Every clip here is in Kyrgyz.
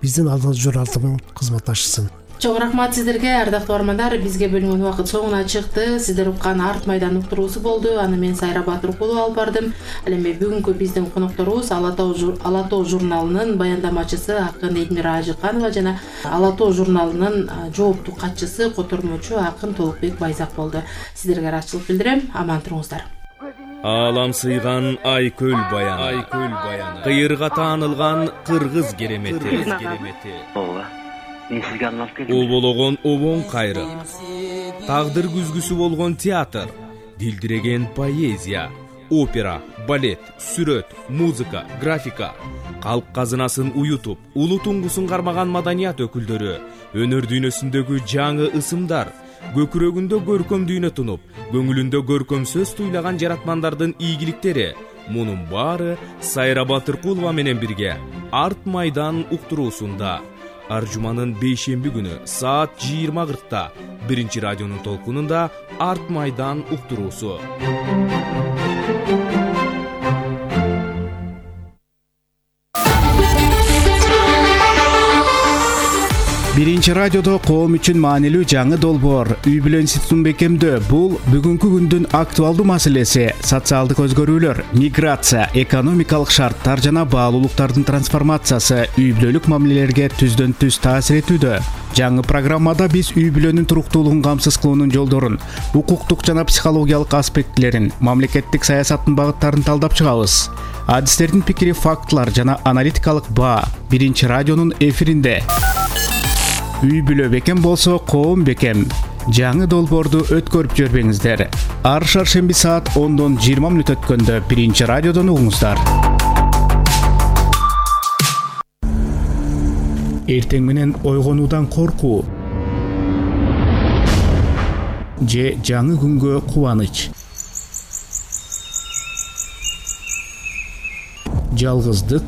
биздин алдыңыз журналдын кызматташысын. Чоң рахмат сиздерге, ардактуу армандар. Бизге бөлүнгөн убакыт соңуна чыкты. Сиздер уккан Арт майдан уктуруусу болду. Аны мен Сайра Батыркулова алып бардым. Ал эми бүгүнкү биздин конокторубуз Ала тоо журналынын баяндамачысы акын Элмира Ажыканова жана Ала тоо журналынын жооптуу катчысы, котормочу акын Толукбек Байзак болду. Сиздерге ыраазычылык билдирем. Аман туруңуздар. Алам сыйган Айкөл баяны, кыйырга таанылган кыргыз керемети, обологон обоң кайры, тагдыр күзгүсү болгон театр, дилдиреген поэзия, опера, балет, сүрөт, музыка, графика, калк казынасын уютуп, улуу туңгусун кармаган маданият өкүлдөрү, өнөр дүйнөсүндөгү жаңы ысымдар, көкүрөгүндө көркөм дүйнө тунуп, көңүлүндө көркөм сөз туйлаган жаратмандардын ийгиликтери, мунун баары Сайра Батыркулова менен бирге Арт майдан уктуруусунда ар жуманын бейшемби күнү саат 20:40 биринчи радионун толкунунда Арт майдан уктуруусу. Биринчи радиодо коом үчүн маанилүү жаңы долбоор үй бүлө институтун бекемдөө. Бул бүгүнкү күндүн актуалдуу маселеси. Социалдык өзгөрүүлөр, миграция, экономикалык шарттар жана баалуулуктардын трансформациясы үй бүлөлүк мамилелерге түздөн түз таасир этүүдө. Жаңы программада биз үй бүлөнүн туруктуулугун камсыз кылуунун жолдорун, укуктук жана психологиялык аспектилерин, мамлекеттик саясаттын багыттарын талдап чыгабыз. Адистердин пикири, фактылар жана аналитикалык баа биринчи радионун эфиринде. Үй бүлө бекем болсо, коом бекем. Жаңы долбоорду өткөрүп жибербеңиздер. Ар шаршемби саат 10:20 өткөндө биринчи радиодон угуңуздар. Эртең менен ойгонуудан коркуу же жаңы күнгө кубаныч. Жалгыздык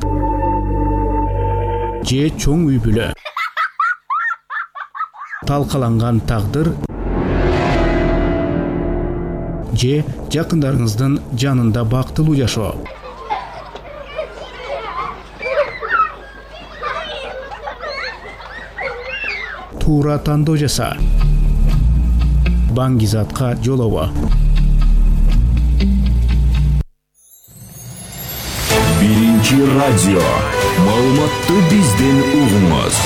же чоң үй бүлө. Талкаланган тагдыр же жакындарыңыздын жанында бактылуу жашоо. Туура тандоо жаса. Баңгизатка жолобо. Биринчи радио. Маалыматты бизден угуңуз.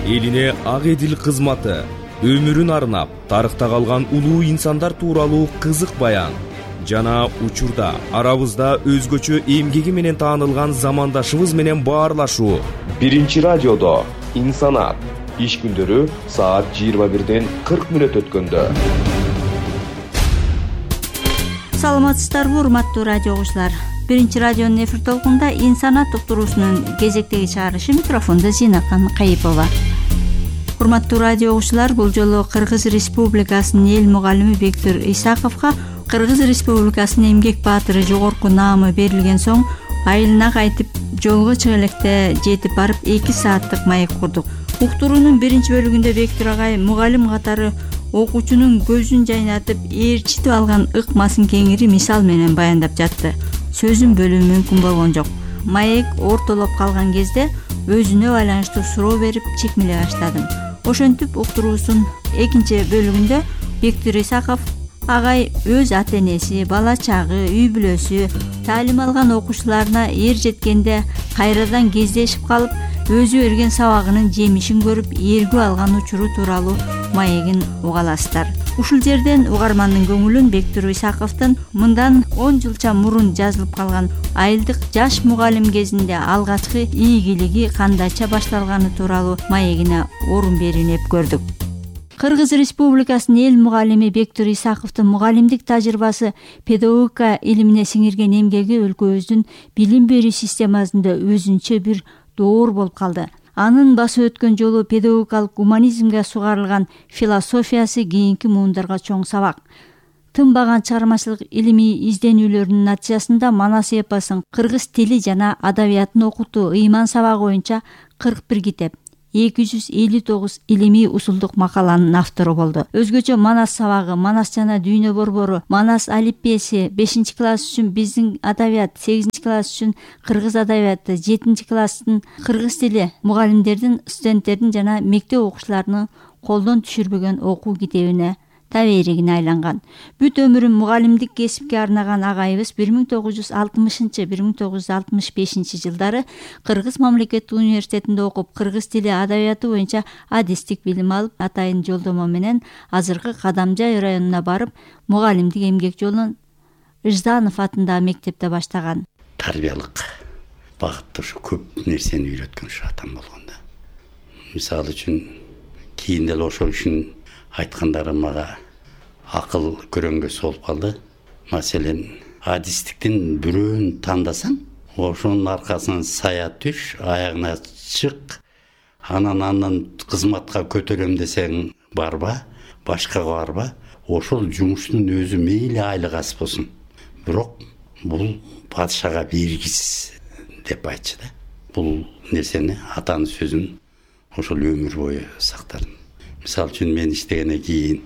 Элине ак эдил кызматы, өмүрүн арнап, тарыхта калган улуу инсандар тууралуу кызык баян жана учурда арабызда өзгөчө эмгеги менен таанылган замандашыбыз менен баарлашуу. Биринчи радиодо инсанат иш күндөрү саат 21:40 өткөндө. Саламатсыздарбы, урматтуу радио угуучулар. Биринчи радионун эфир толкунунда инсанат уктуруусунун кезектеги чыгарышы, микрофондо Зинакан Кайыпова. Урматтуу радио угуучулар, бул жолу Кыргыз Республикасынын эл мугалими Бектур Исаковго Кыргыз Республикасынын эмгек баатыры жогорку наамы берилген соң айылына кайтып жолго чыга электе жетип барып 2 сааттык маек курдук. Уктуруунун биринчи бөлүгүндө Бектур агай мугалим катары окуучунун көзүн жайнатып, ээрчитип алган ыкмасын кеңири мисал менен баяндап жатты. Сөзүн бөлүү мүмкүн болгон жок. Маек ортолоп калган кезде өзүнө байланыштуу суроо берип чекмелей баштадым. Ошентип уктуруусунун экинчи бөлүгүндө Бектур Исаков агай өз ата-энеси, бала чагы, үй бүлөсү, таалим алган окуучуларына эр жеткенде кайрадан кездешип калып, өзү берген сабагынын жемишин көрүп ээргүү алган учуру тууралуу маегин уга аласыздар. Ушул жерден угармандын көңүлүн Бектур Исаковдун мындан 10 жылча мурун жазылып калган айылдык жаш мугалим кезинде алгачкы ийгилиги кандайча башталганы тууралуу маегине орун беринип көрдүк. Кыргыз Республикасынын эл мугалими Бектур Исаковдун мугалимдик тажрыйбасы, педагогика илимине сиңирген эмгеги өлкөбүздүн билим берүү системасында өзүнчө бир доор болуп калды. Анын басы өткөн жолу педагогикалык гуманизмге сугарылган философиясы кийинки муундарга чоң сабак. Тынбаган чыгармачылык илимий изденүүлөрүнүн натыйжасында Манас эпосун, кыргыз тили жана адабиятын окутуу ыйман сабагы боюнча 41 китеп, 259 илимий усулдук макаланын автору болду. Өзгөчө Манас сабагы, Манас жана дүйнө борбору, Манас алиппеси, 5-класс үчүн биздин адабият, 8-класс үчүн кыргыз адабияты, 7-класстын кыргыз тили мугалимдердин, студенттердин жана мектеп окуучуларынын колдон түшүрбөгөн окуу китебине таберигине айланган. Бүт өмүрүн мугалимдик кесипке арнаган агайыбыз 1960-1965 жылдары Кыргыз мамлекеттик университетинде окуп, кыргыз тили адабияты боюнча адистик билим алып, атайын жолдомо менен азыркы Кадамжай районуна барып, мугалимдик эмгек жолун Ыжзанов атындагы мектепте баштаган. Тарбиялык багытта ушу көп нерсени үйрөткөн ушу атам болгондо. Мисалы үчүн кийин деле ошол үчүн айткандары мага акыл көрөнгөсү болуп калды. Маселен, адистиктин бирөөнү тандасаң, ошонун аркасынан сая түш, аягына чык, анан кызматка көтөрөм десең барба, башкага барба. Ошол жумуштун өзү мейли айлык аз болсун, бирок бул падышага бергисиз деп айтчу да. Бул нерсени атанын сөзүн ошол өмүр бою сактадым. Мисалы үчүн мен иштегенден кийин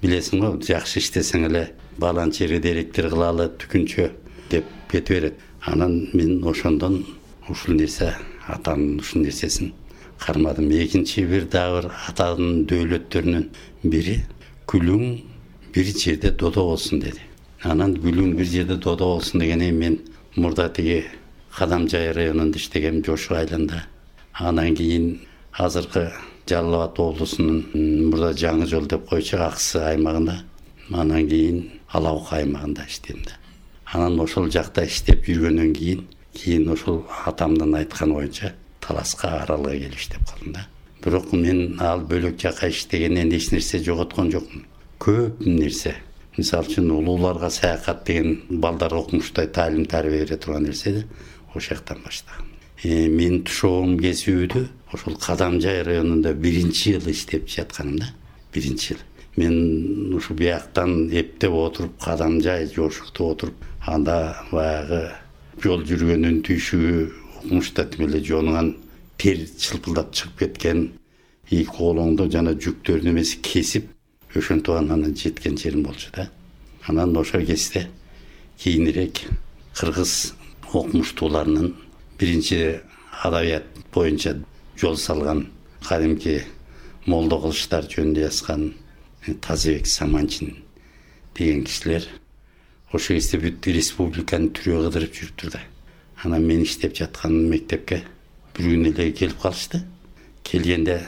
билесиң го, жакшы иштесең эле баланча жерде директор кылалы, түкүнчө деп кете берет. Анан мен ошондон ушул нерсе, атанын ушул нерсесин кармадым. Экинчи бир дагы атанын дөөлөттөрүнүн бири күлүң бир жерде додо болсун деди. Анан күлүң бир жерде додо болсун дегене мен мурда тиги Кадамжай районунда иштегем, Жошу айланда. Анан кийин азыркы Жалал Абад облусунун мурда Жаңы жол деп койчу Аксы аймагында, анан кийин Ала Бука аймагында иштедим да. Анан ошол жакта иштеп жүргөндөн кийин ошол атамдын айтканы боюнча Таласка Аралга келип иштеп калдым да. Бирок мен ал бөлөк жака иштегенден эч нерсе жоготкон жокмун. Көп нерсе. Мисалы үчүн улууларга саякат деген балдар окумуштай таалим тарбия бере турган нерседи ошол жактан баштагам. Мен тушоом кесүүдү ошол Кадамжай районунда 1-жыл иштеп жатканым да. 1-жыл. Мен ушу бияктан эптеп отуруп, Кадамжай, Жошукта отуруп, анда баягы жол жүргөндүн түйшүгү окумушта тимеле жонуган тер чылпылдап чыгып кеткен, эки колоңду жана жүктөрдүн эмеси кесип, ошентип анан жеткен жерим болчу да. Анан ошол кезде кийинирээк кыргыз окумуштууларынын биринчи адабият боюнча жол салган кадимки молдо кылыштар жөнүндө жазган Тазыбек Саманчин деген кишилер ошол кезде бүт республиканын түрү кыдырып жүрүптүр да. Анан мен иштеп жаткан мектепке бир күн эле келип калышты. Келгенде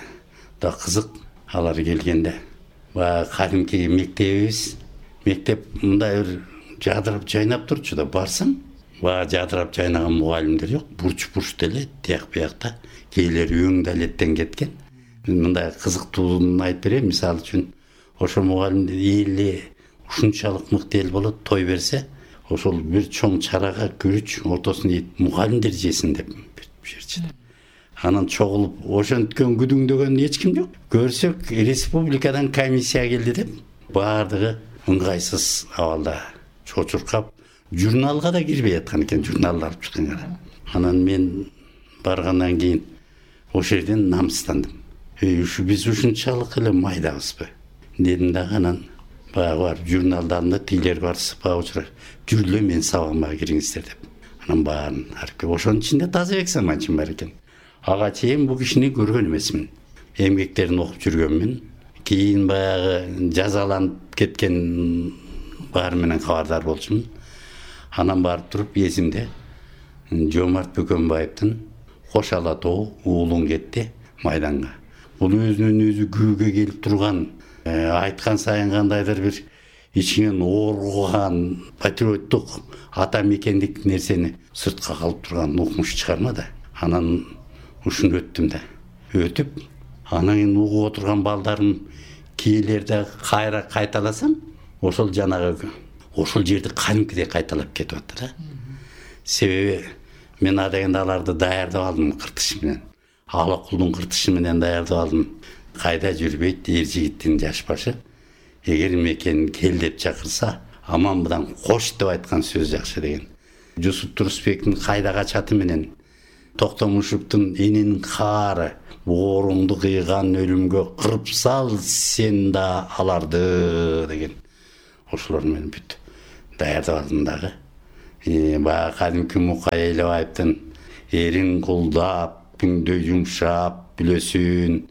да кызык, алар келгенде баягы кадимки мектебибиз, мектеп мындай бир жадырап жайнап турчу да, барсаң баягы жадырап жайнаган мугалимдер жок, бурч деле тияк биякта, кээлери өң далеттен кеткен. Мындай кызыктууну айтып берем. Мисалы үчүн ошол мугалимдер эли ушунчалык мыкты эл болот, той берсе, ошол бир чоң чарага күрүч ортосуна мугалимдер жесин деп берчү. Анан чогулуп ошенткен күдүңдөгөн эч ким жок. Көрсөк республикадан комиссия келди деп баардыгы ыңгайсыз абалда чочуркап, журналга да кирбей аткан экен, журналды алып чыкканга. Анан мен баргандан кийин ошол жерден намыстандым. Ушу биз ушунчалык эле майдабызбы дедим да. Анан баягы бар журналды алдым да, тилер бар сыпа учурар, жүрүлө мен сабагыма кириңиздер деп. Анан баарын арып, ошонун ичинде Тазыбек Саманчин бар экен. Ага чейин бул кишини көргөн эмесмин. Эмгектерин окуп жүргөнмүн. Кийин баягы жазаланып кеткен баары менен кабардар болчумун. Анан барып туруп эсимде Жомарт Бөкөнбаевдин Кош ала тоо уулуң кетти майданга. Бул өзүнүн өзү күүгө келип турган, айткан сайын кандайдыр бир ичинен ооргуган патриоттук ата мекендик нерсени сыртка калып турган укмуш чыгарма да. Анан ушуну өттүм да. Өтүп, анан угуп отурган балдарым кээлерде кайра кайталасам, ошол жанагы ошол жерди кадимкидей кайталап кетип атты да. Себеби мен адегенде аларды даярдап алдым кыртыш менен. Ала кулдун кыртышы менен даярдап алдым. Кайда жүрбөйт эр жигиттин жаш башы. Эгер мекен кел деп чакырса, аманбыдан кош деп айткан сөз жакшы деген. Жусуп Турусбектин кайда качаты менен Токтомушевдин энин каары ооруңду кыйган өлүмгө кырып сал сен да аларды деген ошолор менен бүт даярдап алдым дагы. Баягы кадимки Мукай Элебаевдин эрин кулдап, күндө жумшап бүлөсүн,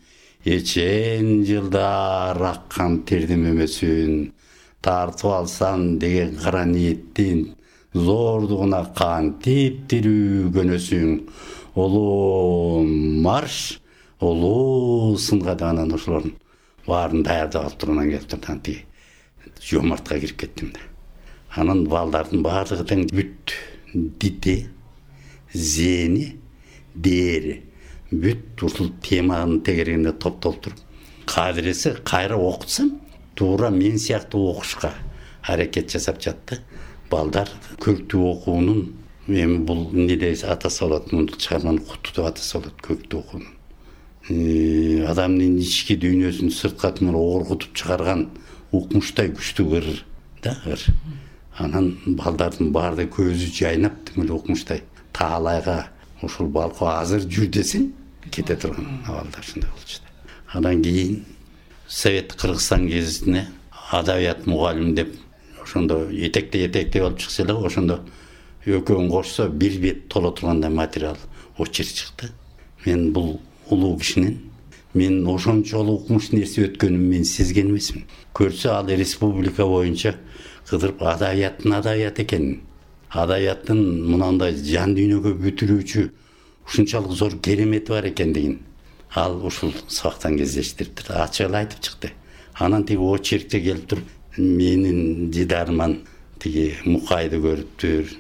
эчен жылдар аккан тердим өмөсүн, тартып алсаң деген кара ниеттин зордугуна кантип тирүү көнөсүң, улуу марш, улуу сынга даган ошолордун баарын даярдап алып тургандан келип турган тиги жомартка кирип кеттим да. Анан балдардын баардыгы тең бүт дити, зени, дери бүт ушул теманын тегерегинде топтолуп туруп, кадыресе кайра окутсам, туура мен сыяктуу окушка аракет жасап жатты. Балдар көктүү окуунун, эми бул эмне атасы болот, муну чыгарманы куту деп атасы болот, көктүү окуунун. Адамдын ички дүйнөсүн сырткы менен оргутуп чыгарган укмуштай күчтүү ыр да ыр. Анан балдардын баарды көзү жайнап тимил укмуштай таалайга ушул балко азыр жүр десең кете турган балдар ушундай болчу. Андан кийин Совет Кыргызстан гезитине адабият мугалим деп ошондо этекте болуп чыкса эле, ошондо экөөнү кошсо бир бет толо тургандай материал очерк чыкты. Мен бул улуу кишинин мен ошончолук укмуш нерсе өткөнүн мен сезген эмесмин. Көрсө ал республика боюнча кыдырып адабияттын адабият экенин, адабияттын мынандай жан дүйнөгө бүтүрүүчү ушунчалык зор керемети бар экендигин ал ушул сабактан кездештириптир, ачык эле айтып чыкты. Анан тиги очеркте келип туруп менин дидарыман тиги Мукайды көрүптүр,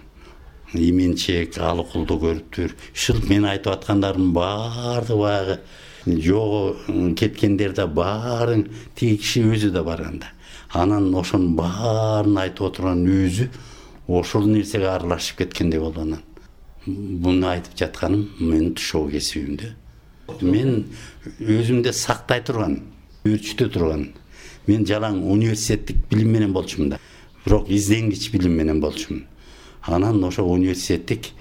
Именчек, Алыкулду көрүптүр. Ушул мен айтып аткандарымдын баардыгы баягы жогу кеткендер да баарын тиги киши өзү да барганда. Анан ошонун баарын айтып отурган өзү ошол нерсеге аралашып кеткендей болду. Анан буну айтып жатканым менин тушоо кесибимде. Мен өзүмдө сактай турган, өрчүтө турган. Мен жалаң университеттик билим менен болчумун да. Бирок изденгич билим менен болчумун. Анан ошо университеттик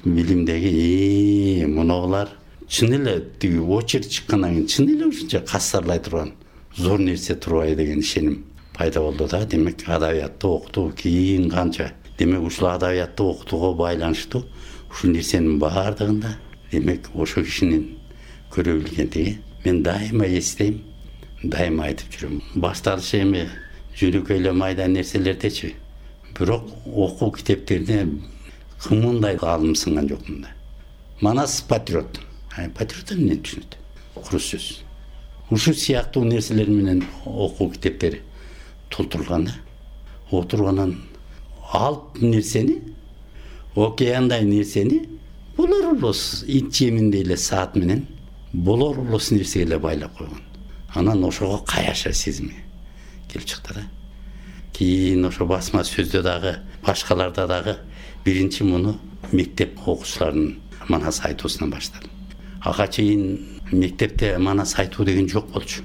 билимдеги мунулар чын эле тиги очерк чыккандан кийин чын эле ушунча кассарлай турган зор нерсе турбай деген ишеним пайда болду да. Демек адабиятты окутуу кийин канча, демек ушул адабиятты окутууга байланыштуу ушул нерсенин баардыгында демек ошо кишинин көрө билгендиги мен дайыма эстейм, дайыма айтып жүрөм. Башталышы эми жөнөкөй эле майда нерселердечи. Бирок окуу китептерине кымындай алым сынган жокмун да. Манас патриот. Патриот эмне түшүнөт? Куру сөз. Ушул сыяктуу нерселер менен окуу китептери толтурулган да. Отурганан алып нерсени, океандай нерсени булар улус ит жеминдей эле саат менен болор улус нерсеге эле байлап койгон. Анан ошого каяша сезими келип чыкты да. Кийин ошо басма сөздө дагы, башкаларда дагы биринчи муну мектеп окуучуларынын манас айтуусунан баштадым. Ага чейин мектепте манас айтуу деген жок болчу.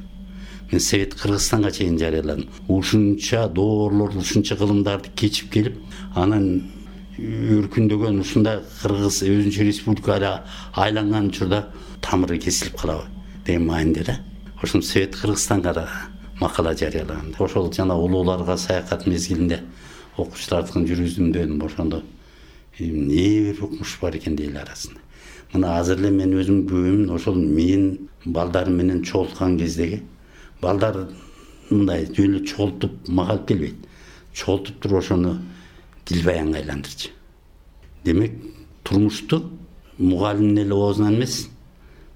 Мен Совет Кыргызстанга чейин жарыяладым. Ушунча доорлор, ушунча кылымдарды кечип келип, анан өркүндөгөн ушундай Кыргыз өзүнчө республикага айланган учурда тамыры кесилип калабы деген мааниде да. Ошон Совет Кыргызстанга да макала жарыялаган. Ошол жана улууларга саякат мезгилинде окуучулардын жүргүзүмдөн ошондо эмне бир укмуш бар экен дейли арасында. Мына азыр эле мен өзүм көбүмүн ошол мен балдарым менен чогулткан кездеги балдар мындай жөн эле чогултуп мага алып келбейт. Чогултуп туруп ошону дилбаянга айландырчу. Демек турмушту мугалимдин эле оозунан эмес,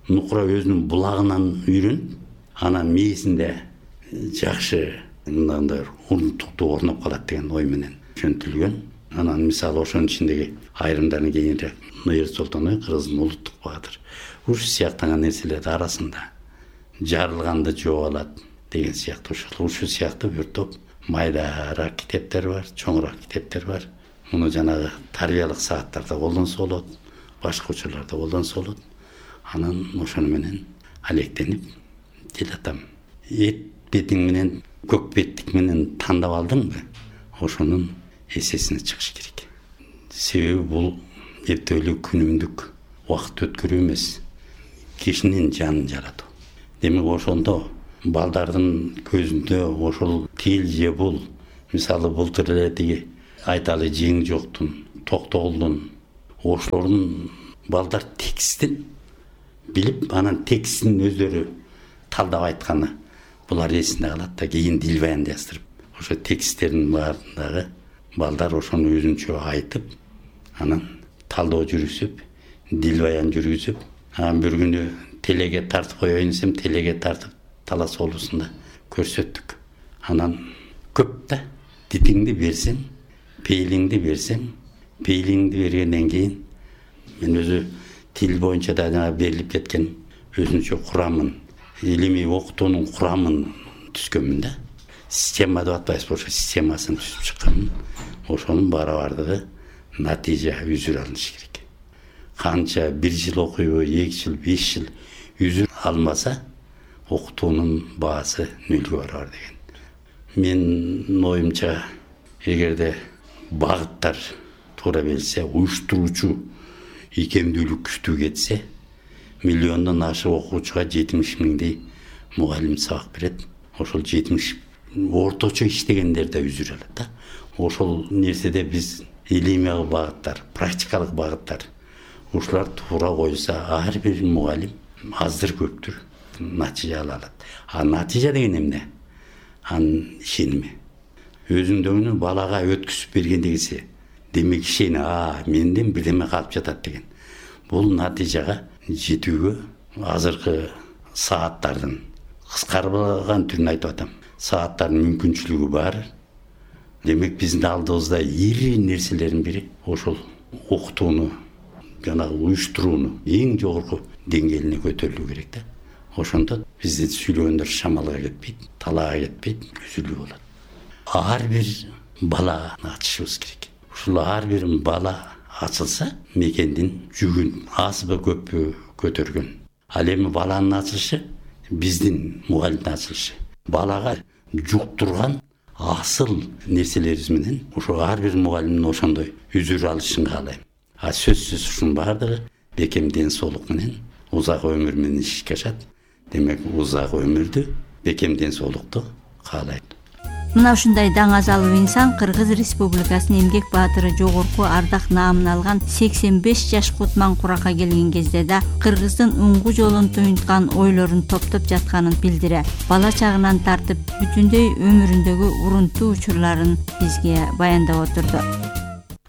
нукура өзүнүн булагынан үйрөнүп, анан мээсинде жакшы мындай урунтуктуу орноп калат деген ой менен жөнтүлгөн. Анан мисалы ошонун ичиндеги айрымдарын кийинирээк Ноер Солтоной Кыргыздын улуттук баатыр ушул сыяктаган нерселердин арасында жарылганды жооп алат деген сыяктуу ушул сыяктуу бир топ майдараак китептер бар, чоңураак китептер бар. Муну жанагы тарбиялык сааттарда колдонсо болот, башка учурларда колдонсо болот. Анан ошону менен алектенип делатам. Эт бетиң менен көк беттик менен тандап алдыңбы? Ошонун эсесине чыгыш керек. Себеби бул эртелүү күнүмдүк убакыт өткөрүү эмес, кишинин жанын жаратуу. Демек ошондо балдардын көзүндө ошол тил же бул, мисалы былтыр эле тиги айталы жең жоктун, токтогулдун ошолордун балдар текстин билип, анан текстин өздөрү талдап айтканы булар эсинде калат да, кийин дил баянды жаздырып ошо тексттердин баарындагы балдар ошону өзүнчө айтып, анан талдоо жүргүзүп, дил баян жүргүзүп, анан бир күнү телеге тартып коеюн десем, телеге тартып Талас облусунда көрсөттүк. Анан көп да, дитиңди берсең, пейлиңди берсең, пейлиңди бергенден кийин мен өзү тил боюнча да берилип кеткен өзүнчө курамын, илимий окутуунун курамын түзгөнмүн да. Система деп атпайбызбы, ошо системасын түзүп чыкканмын. Ошонун барабардыгы натыйжа үзүр алыныш керек. Канча 1 жыл окуйбу, 2 жыл, 5 жыл үзүр алмаса, окутуунун баасы нөлгө барар деген. Мен оюмча, эгерде багыттар туура берилсе, уюштуруучу икемдүүлүк күчтүү кетсе, миллиондон ашык окуучуга 70 миңдей мугалим сабак берет. Ошол 70 орточо иштегендер да үзүр алат да. Ошол нерседе биз илимий багыттар, практикалык багыттар, ушулар туура коюлса, ар бир мугалим аздыр көптүр натыйжа ала алат. А натыйжа деген эмне? Анын ишеними. Өзүндөгүнү балага өткүзүп бергендегиси, демек ишени, менден бирдеме калып жатат деген. Бул натыйжага жетүүгө азыркы сааттардын кыскарган түрүн айтып атам. Сааттардын мүмкүнчүлүгү бар. Демек биздин алдыбызда ири нерселердин бири ошол окутууну, жанагы уюштурууну эң жогорку деңгээлине көтөрүлүү керек да. Ошондо бизди сүйлөгөндөр шамалга кетпейт, талаага кетпейт, үзүлүү болот. Ар бир бала ачышыбыз керек. Ушул ар бир бала ачылса, мекендин жүгүн азбы көппү көтөргөн. Ал эми баланын ачылышы биздин мугалимдин ачылышы. Балага жуктурган асыл нерселерибиз менен ошо ар бир мугалимдин ошондой үзүр алышын каалайм. Сөзсүз ушунун баардыгы бекем ден соолук менен, узак өмүр менен ишке ашат. Демек узак өмүрдү, бекем ден соолукту каалайт. Мына ушундай даңазалуу инсан Кыргыз Республикасынын эмгек баатыры жогорку ардак наамын алган 85 жаш Кутман Куракка келген кезде да Кыргыздын уңгу жолун туюнткан ойлорун топтоп жатканын билдире. Бала чагынан тартып бүтүндөй өмүрүндөгү урунтуу учурларын бизге баяндап отурду.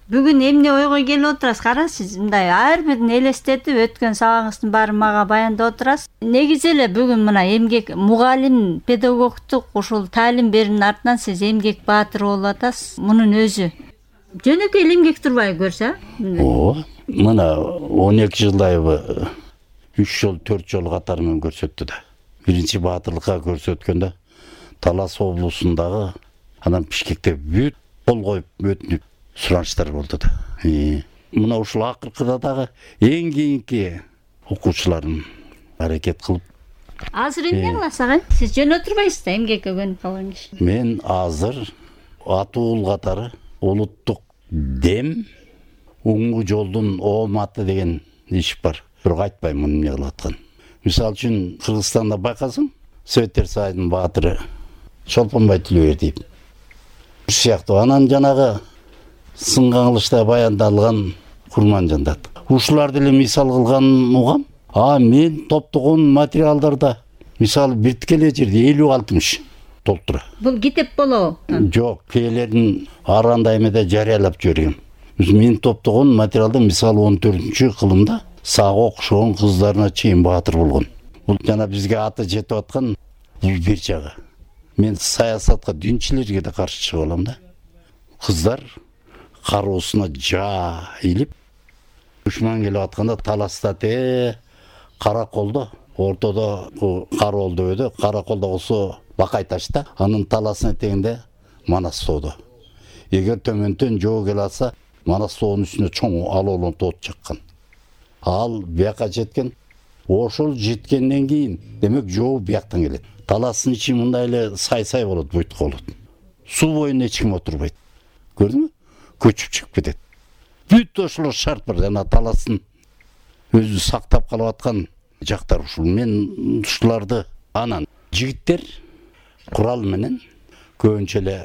Бүгүн эмне ойго келип отурасыз? Караңыз, мындай ар бирин элестетип өткөн сабагыңыздын баарын мага баяндап отурасыз. Негизи эле бүгүн мына эмгек мугалим, педагогтук ушул таалим берүүнүн артынан сиз эмгек баатыры болуп атасыз. Мунун өзү жөнөкөй эле эмгек турбайбы көрсө? Мына 12 жылдайбы 3 жол 4 жол катары менен көрсөттү да. Биринчи баатырлыкка көрсөткөндө Талас облусундагы, анан Бишкекте бүт кол коюп өтүнүп суранычтар болду да. Мына ушул акыркыда дагы эң кийинки окуучуларым аракет кылып. Азыр эмне кыласыз ага? Сиз жөн отурбайсыз да, эмгекке көнүп калган киши. Мен азыр атуул катары улуттук дем уңгу жолдун ооматы деген иш бар. Бирок айтпайм муну эмне кылып аткан. Мисалы үчүн Кыргызстанда байкасаң, Советтер Союзунун баатыры Чолпонбай Тилебердиев сыяктуу, анан жанагы сынган кылычта баяндалган Курманжандат. Ушуларды эле мисал кылган угам. Мен топтогон материалдарда мисалы бирткеле жерде 50-60 толтура. Бул китеп болобу? Жок, кээлердин аранда эмеде жарыялап жибергем. Мен топтогон материалда мисалы 14-кылымда сага окшогон кыздарына чейин баатыр болгон. Бул жана бизге аты жетип аткан бул бир жагы. Мен саясатка, динчилерге да каршы чыга алам да. Кыздар кароосуна жайылып душман келип атканда Таласта Караколдо, ортодо Кароол дөбөдө, Караколдо болсо Бакай ташта, анын таласын этегинде Манас тоодо. Эгер төмөндөн жоо келе алса, Манас тоонун үстүнө чоң алоолон тоот чаккан. Ал бияка жеткен, ошол жеткенден кийин демек жоо бияктан келет. Таластын ичи мындай эле сай болот, буйтук болот. Суу боюнда эч ким отурбайт. Көрдүңбү? Көчүп чыгып кетет. Бүт ошолор шарт бар, жана таластын өзү сактап калып аткан жактар ушул. Мен ушуларды анан жигиттер курал менен көбүнчө эле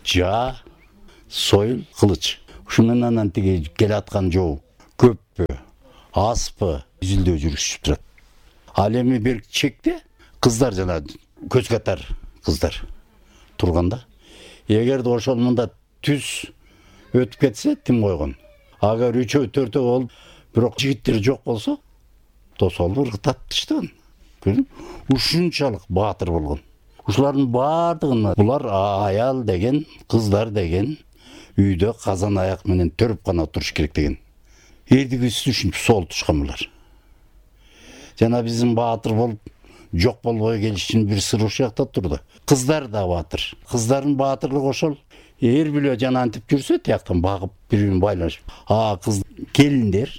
жаа, сойыл, кылыч. Ушу менен анан тиги келаткан жоо көппү, азпы изилдөө жүргүзүп турат. Ал эми бир чекте кыздар жана көз катар кыздар турганда, эгерде ошол мында түз өтүп кетсе тим койгон. Агар 3-4 болуп, бирок жигиттер жок болсо, тосолду ыргытып таштаган. Ушунчалык баатыр болгон. Ушулардын баардыгын булар аял деген, кыздар деген үйдө казан аяк менен төрүп гана туруш керек деген. Эрдигиси ушинтип сол тушкан булар. Жана биздин баатыр болуп жок болбой келишин бир сыр ушул жакта турду. Кыздар да баатыр. Кыздардын баатырлыгы ошол. Эр биле жана антип жүрсө, тияктан багып бири-бирин байланышып. Кыз келиндер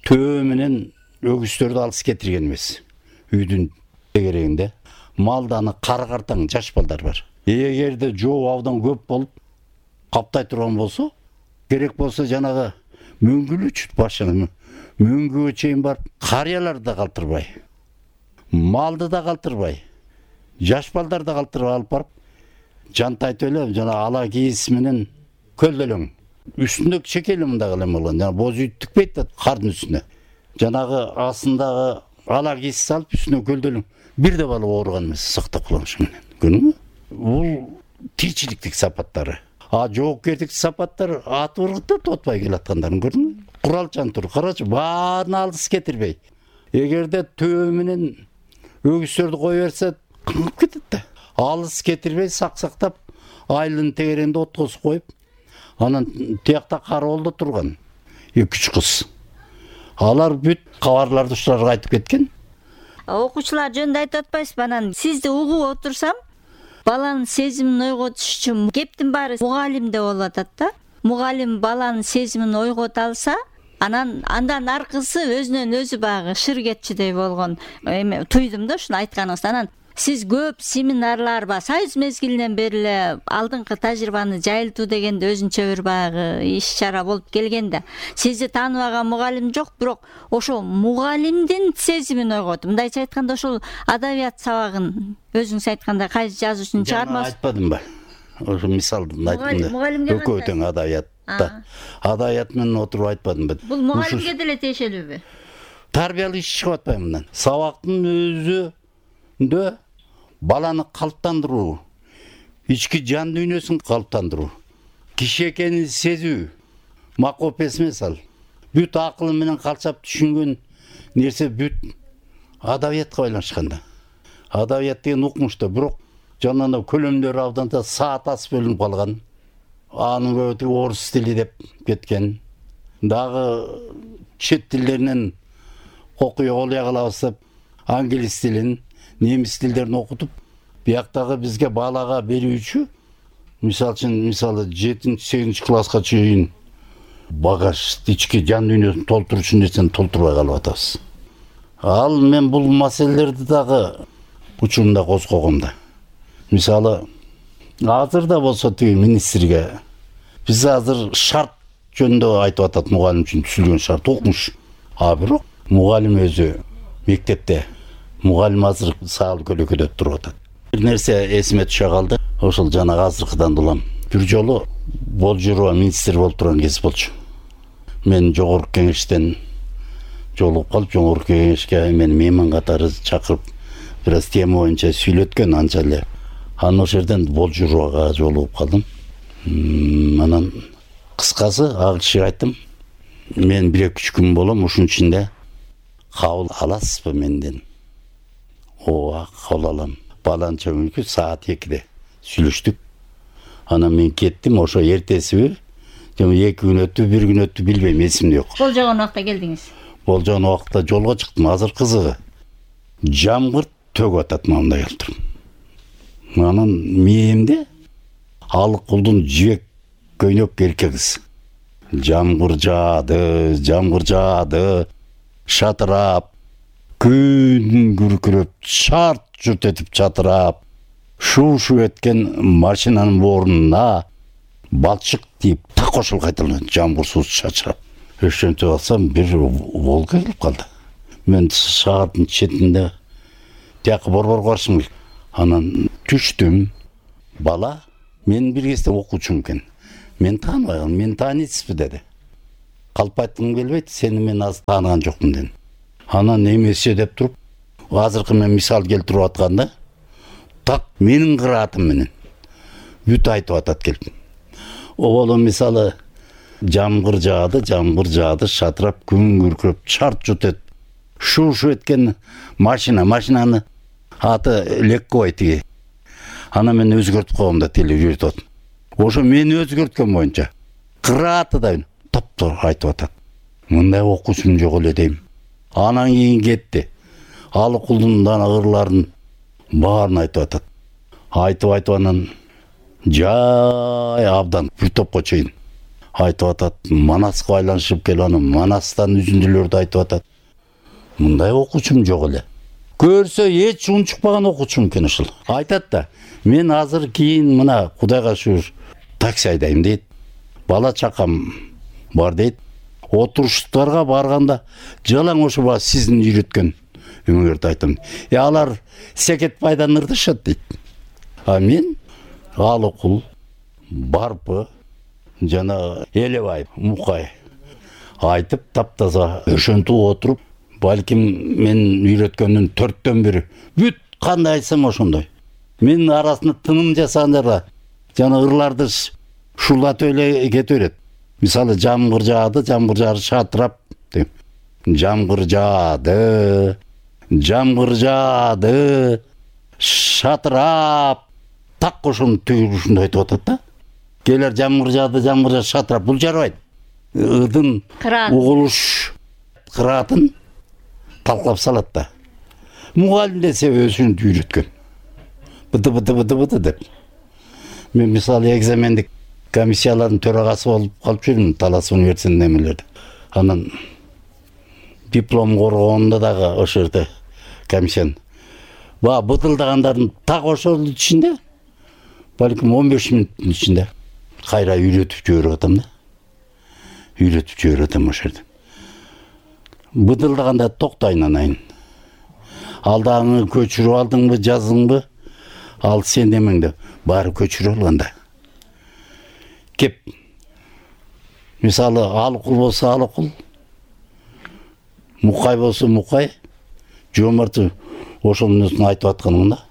төө менен өгүздөрдү алыс кетирген эмес. Үйдүн тегерегинде малданы кара-картаң жаш балдар бар. Эгерде жоо абдан көп болуп каптай турган болсо, керек болсо жанагы мөңгүлүч башына мөңгүгө чейин барып, карыяларды да калтырбай, малды да калтырбай, жаш балдарды да калтырбай алып барып, жантайтып эле жана ала кийиз менен көлдөлөң. Үстүндө чекели мындагы эле болгон. Жана боз үй тикпейт да кардын үстүнө. Жанагы астындагы ала кийиз салып үстүнө көлдөлөң. Бир да бала ооруган эмес, сактап калган ушу менен. Көрдүңбү? Бул тиричиликтик сапаттары. Жоопкердик сапаттар аты ыргытып отпай келаткандарын көрдүңбү? Куралчан тур, карачы, баарын алыс кетирбей. Эгерде төө менен өгүздөрдү кое берсе, кыңып кетет да. Алыс кетирбей сактап, айылдын тегерегинде откос коюп, анан тиякта кароолдо турган 2-3 кыз. Алар бүт кабарларды ушуларга айтып кеткен. Окуучулар жөнүндө айтып атпайсызбы? Анан сизди угуп отурсам, баланын сезимин ойготуш үчүн кептин баары мугалимде болуп атат да. Мугалим баланын сезимин ойгото алса, андан аркысы өзүнөн өзү багы шыр кетчидей болгон. Эми туйдум да ушуну айтканыңыздан. Анан сиз көп семинарлар ба, союз мезгилинен бери эле алдыңкы тажрыйбаны жайылтуу дегенде өзүнчө бир багы иш-чара болуп келгенде, сизди тааныбаган мугалим жок, бирок ошол мугалимдин сезимин ойготуп, мындайча айтканда ошол адабият сабагын өзүңүз айткандай кайсы жазуучунун чыгармасы айтпадымбы? Ошо мисалды айттым да. Экөө тең адабиятта. Адабият менен отуруп айтпадымбы? Бул мугалимге деле тиешелүүбү? Тарбиялык иш чыгып атпайбы мындан? Сабактын өзүндө баланы калыптандыруу, ички жан дүйнөсүн калыптандыруу, киши экенин сезүү, макопес эмес ал. Бүт акылы менен калчап түшүнгөн нерсе бүт адабиятка байланышкан да. Адабият деген укмушта, бирок жанагы көлөмдөрү абдан да саат ас бөлүнүп калган. Анын көбү орус тили деп кеткен. Дагы чет тилдеринен окуя калабыз деп англис тилин, немис тилдерин окутуп, бияктагы бизге балага берүүчү, мисалы 7-8 класска чейин багаж, ички жан дүйнөсүн толтурчу нерсени толтурбай калып атабыз. Ал мен бул маселелерди дагы учурунда козгогом да. Мисалы, азыр да болсо тиги министрге биз азыр шарт жөнүндө айтып атат, мугалим үчүн түзүлгөн шарт укмуш. Бирок мугалим өзү мектепте мугалим азыр саал көлөкөдө туруп атат. Бир нерсе эсиме түшө калды. Ошол жанагы азыркыдан улам. Бир жолу Болжурова министр болуп турган кез болчу. Мен жогорку кеңештен жолугуп калып, жогорку кеңешке мени мейман катары чакырып, бир аз тема боюнча сүйлөткөн анча эле. Анан ошол жерден Болжуровага жолугуп калдым. Анан кыскасы ал кишиге айттым, мен 1-2 күн болом, ушунун ичинде кабыл аласызбы менден? Ооба, кабыл алам. Баланча күнкү саат 2-де сүйлөштүк. Анан мен кеттим, ошо эртесиби, жана 2 күн өттү, 1 күн өттү билбейм, эсимде жок. Болжогон убакта келдиңиз. Болжогон убакта жолго чыктым. Азыр кызыгы жамгыр төгүп атат мындай кылып. Анан мээмде алык кулдун жибек көйнөк эркек кыз. Жамгыр жаады, шатырап, күн күркүрөп, шарт журт этип чатырап, шу эткен машинанын борунуна балчык тийип так ошол кайталанат, жамгыр суу чачырап. ошентип алсам бир волга келип калды. Мен шаардын четинде тияка борбор барышым керек. Анан түштүм. Бала менин бир кезде окуучум экен. Мен тааныбай калдым. Мени тааныйсызбы деди. Калп айткым келбейт, сени мен азыр тааныган жокмун дедим. Анан эмесе деп туруп, азыркы мен мисал келтирип атканда, так менин кыраатым менен бүт айтып атат келип. Оболо мисалы жамгыр жаады, шатырап, күн күркүрөп, чарт жутет. Шу эткен машинаны аты лекковой тиги. Ана мен өзгөртүп койгом да теле үйрөтүп атам. Ошо мени өзгөрткөн боюнча кырааты да таптор айтып атат. Мындай окуучум жок эле дейм. Анан кийин кетти. Алыкулдун дана ырларын баарын айтып атат. Айтып анан жай абдан бир топко чейин айтып атат. Манаска байланышып келип анан Манастан үзүндүлөрдү айтып атат. Мындай окуучум жок эле. Көрсө эч унчукпаган окуучум экен ушул. Айтат да, мен азыр кийин мына Кудайга шүгүр такси айдайм дейт. Бала чакам бар дейт. Отуруштарга барганда жалаң ошо сиздин үйрөткөн үңөрдү айтам. Алар секет пайдан ырдышат дейт. А мен Алыкул, Барпы, жана Элебай, Мукай айтып таптаза ошентип отуруп, балким мен үйрөткөндүн 4төн бири. Бүт кандай айтсам ошондой. Мен арасында тыным жасагандарга жана ырларды шулатып эле кете берет. Мисалы жамгыр жаады, шатырап дейм. Жамгыр жаады, шатырап. Так ошонун түйүрүшүндө айтып атат да. Келер жамгыр жаады, шатырап. Бул жарабайт. Ыдын угулуш кыраатын талкалап салат да. Мугалим десе өзүн үйрөткөн. Быды деп. Мен мисалы экзамендик комиссиялардын төрагасы болуп калып жүрдүм Талас университетинде эмелерде. Анан диплом коргоонда дагы ошол жерде комиссияны бытылдагандардын так ошол ичинде балким 15 мүнөттүн ичинде кайра үйрөтүп жиберип атам да. Үйрөтүп жиберип атам ошол жерде. Бытылдаганда токтойн анайын. Алдагы көчүрүп алдыңбы, жаздыңбы? Ал сен демеңде баары көчүрүп алганда. Кеп. Мисалы Алыкул болсо Алыкул, Мукай болсо Мукай, жомарты ошонун айтып атканым да.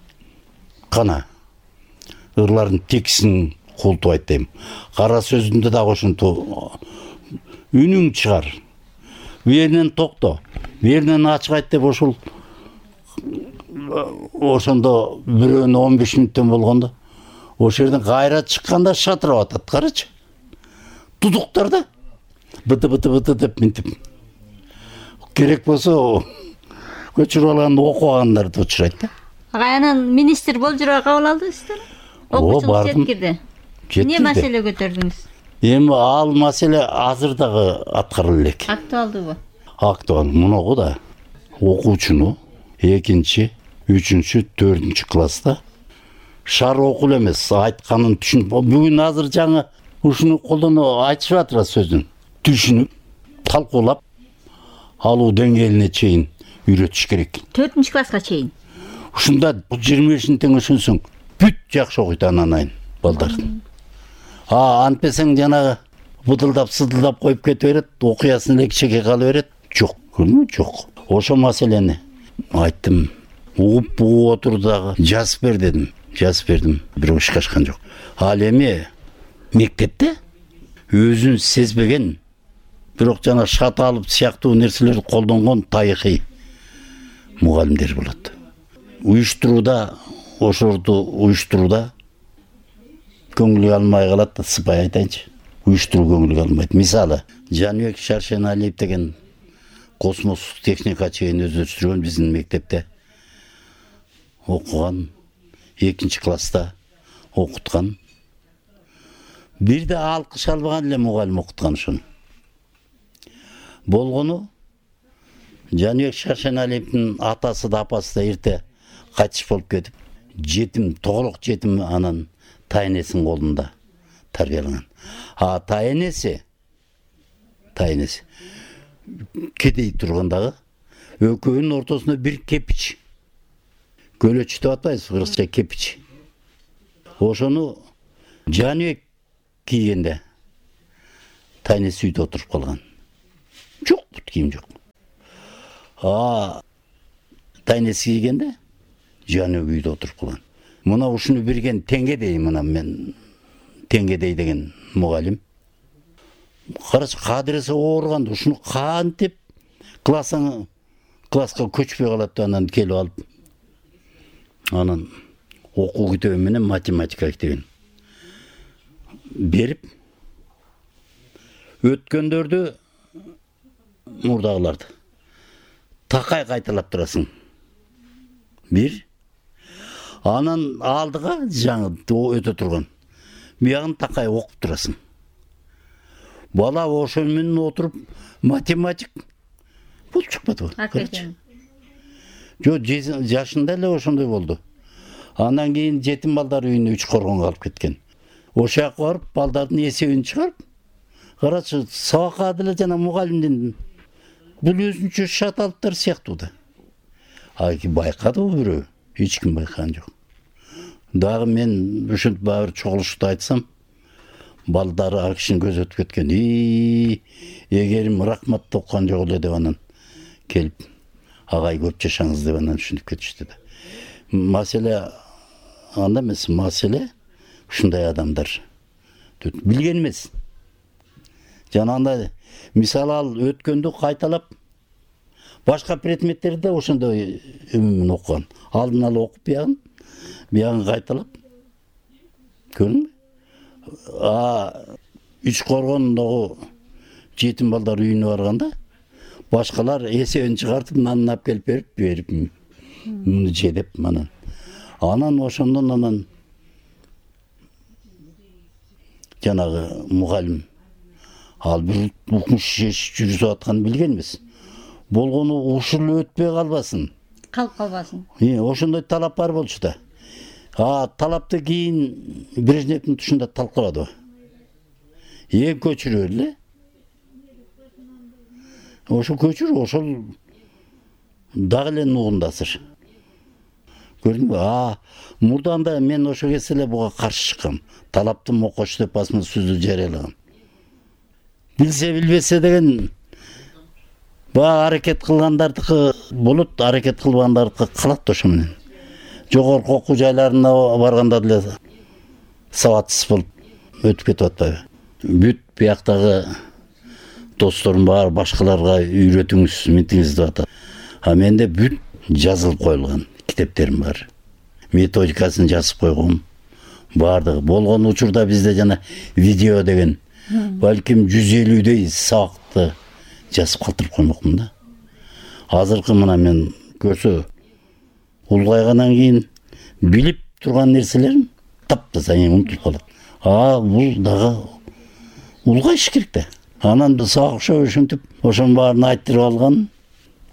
Кана ырлардын текисин култуп айт дейм. Кара сөзүндө дагы ошентип үнүң чыгар. Беринен токто, беринен ачык айт деп ошол ошондо бирөөнө 15 мүнөттөн болгондо ошол жерден кайра чыкканда шатырап атат. Карачы. Тудуктарда быты деп минтип. Керек болсо көчүрүп алганда окугандарды учурайт да. Анан министр болуп жүрө кабыл алдыңыздар? Окуучулук жеткирди. Эмне маселе көтөрдүңүз? Эми ал маселе азыр дагы аткарыла элек. Актуалдыбы? Актуал. Мунугу да окуучуну 2-чи, 3-чү, 4-чү класста шар окул эмес, айтканын түшүнүп, бүгүн азыр жаңы ушуну колдонуп айтышып атыр сөздүн. Түшүнүп, талкуулап алуу деңгээлине чейин үйрөтүш керек. 4-чү класска чейин. Ушунда 25 тең өшөнсөң, бүт жакшы окуйт анан балдар. Антпесең жанагы бутылдап сыдылдап коюп кете берет, окуясын эле кичине кала берет. Жок, жок. Ошо маселени айттым. Угуп отурду дагы жазып бер дедим. Жазып бердим, бирок ишке ашкан жок. Ал эми мектепте өзүн сезбеген, бирок жана шат алып сыяктуу нерселерди колдонгон тарыхый мугалимдер болот. Уюштурууда, ошорду уюштурууда көңүлгө алмай калат да, сыпай айтайынчы. Уюштуруу көңүлгө алмайт. Мисалы, Жаныбек Шаршеналиев деген космос техника чейин өздөштүргөн биздин мектепте окуган, 2-чи класста окуткан. Бирде алкыш албаган эле мугалим окуткан ошону. Болгону Жаныбек Шаршеналиевдин атасы да апасы да эрте кайтыш болуп кетип, жетим, тоголок жетим анан тайнесинин колунда тарбияланган. Тайнеси тайнеси. Кедей тургандагы экөөнүн ортосуна бир кепич. Көлөч деп атпайбыз, кыргызча кепич. Ошону жаныбек кийгенде тайнеси үйдө отуруп калган. Жок, бут кийим жок. Тайнеси кийгенде жаныбек үйдө отуруп калган. Мына ушуну берген Теңгедей, мына мен Теңгедей деген мугалим. Карачы кадырысы ооруган, ушуну кантип класска көчпөй калат деп анан келип алып. Анан окуу китеби менен математика китебин берип, өткөндөрдү мурдагыларды такай кайталап турасың. Бир. Анан алдыга жаңы өтө турган. Биягын такай окуп турасың. Бала ошол менен отуруп математик болуп чыкпадыбы? Жок, жашында эле ошондой болду. Андан кийин жетим балдар үйүнө 3 коргонго алып кеткен. Ошол жака барып, балдардын эсебин чыгарып, карачы, сабакка деле жана мугалимдин бул өзүнчө шаталыктар сыяктуу да. Байкадыбы бирөө? Эч ким байкаган жок. Дагы мен ушинтип баары чогулушта айтсам, балдары ар кишинин көзү өтүп кеткен. Эгерим рахмат оккан жок эле деп анан келип, агай көп жашаңыз деп анан ушинтип кетишти да. Маселе анда эмес, маселе ушундай адамдар билген эмес. Жана андай, мисалы ал өткөндү кайталап, башка предметтерди да ошондой өмүмүн окуган. Алдын ала окуп биягын кайталап. Көрдүңбү? 3 коргондогу жетим балдар үйүнө барганда, башкалар эсебин чыгартып, нанын алып келип берип, муну же деп анан. Анан ошондон анан жанагы мугалим ал бир укмуш жүрүп атканын билген эмес. Болгону ушул өтпөй калбасын. Калып калбасын. Ошондой талап бар болчу да. Талапты кийин Брежневдин тушунда талкалады. Көчүрө эле. Ошо көчүр, ошол дагы эле нугундасыр. Көрдүңбү? Мурданда мен ошо кезде эле буга каршы чыккам. Талапты мокош деп басма сөздү жарыялагам. Билсе билбесе деген аракет кылгандардыкы болот, аракет кылбагандардыкы калат ошо менен. Жогорку окуу жайларына барганда деле сабатсыз болуп өтүп кетип атпайбы? Бүт бияктагы досторум бар, башкаларга үйрөтүңүз, ментиңиз деп атат. Менде бүт жазылып коюлган китептерим бар. Методикасын жазып койгом. Бардыгы болгон учурда бизде жана видео деген балким 150дей сабакты жазып калтырып коймокмун да. Азыркы мына мен көрсө улгайгандан кийин билип турган нерселерим таптаза унутулуп калат. Бул дагы улгайыш керек да. Анан сабак ошентип, ошонун баарын айтырып алган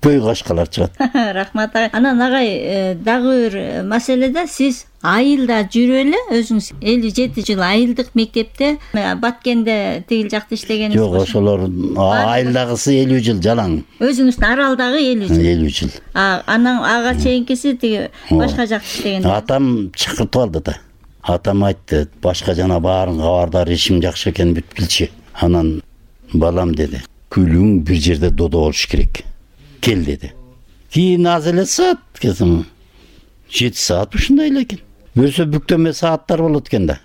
көй кашкалар чыгат. Рахмат агай. Анан агай дагы бир маселеде сиз айылда жүрүп эле өзүңүз 57 жыл айылдык мектепте Баткенде тигил жакта иштегениңиз. Жок, ошолор айылдагысы 50 жыл жалаң. Өзүңүздүн аралдагы 50 жыл. 50 жыл. Анан ага чейинкиси тиги башка жакта иштеген. Атам чакыртып алды да. Атам айтты, башка жана баарын кабардар, ишим жакшы экен бүт билчи. Анан балам деди, күлүң бир жерде додо болуш керек. Кел деди. Кийин аз эле саат, 7 саат ушундай эле экен. Бөлсө бүктөмө сааттар болот экен да.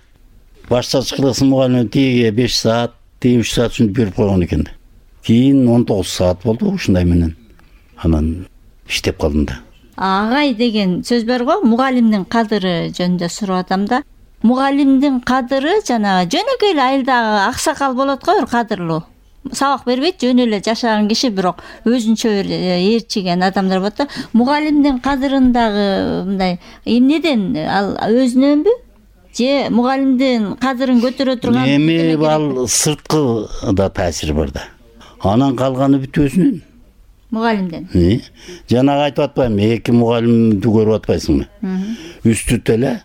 Башчылык кылсын мугалим тиге 5 саат, тиге 3 саат ушинтип берип койгон экен да. Кийин 19 саат болду ушундай менен. Анан иштеп калдым да. Агай деген сөз бар го, мугалимдин кадыры жөнүндө сурап атам да. Мугалимдин кадыры жана жөнөкөй эле айылдагы аксакал болот го, бир кадырлуу. Сабак бербейт, жөн эле жашаган киши, бирок өзүнчө ээрчиген адамдар болот да. Мугалимдин кадырындагы мындай эмнеден ал өзүнөнбү? Же мугалимдин кадырын көтөрө турган? Эми ал сырткы да таасир бар да. Анан калганы бүт өзүнөн. Мугалимден. Жанагы айтып атпаймынбы, 2 мугалимди көрүп атпайсыңбы? Үстүт эле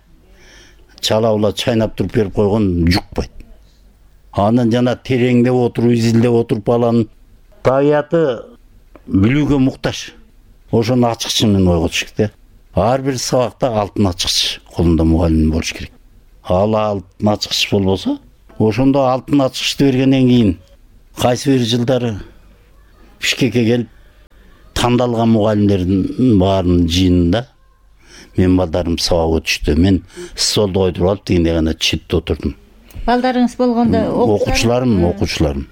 чала ула чайнап туруп берип койгон жукпайт. Анан жана тереңдеп отуруп, изилдеп отуруп баланын табияты билүүгө муктаж. Ошону ачкычы менен ойготуш керек. Ар бир сабакта алтын ачкыч колунда мугалим болуш керек. Ал алтын ачкыч болбосо, ошондо алтын ачкычты бергенден кийин кайсы бир жылдары Бишкекке келип тандалган мугалимдердин баарынын жыйынында мен балдарым сабак өтүштү. Мен столду койдуруп алып дегенде гана четте отурдум. Балдарыңыз болгондо окуучуларым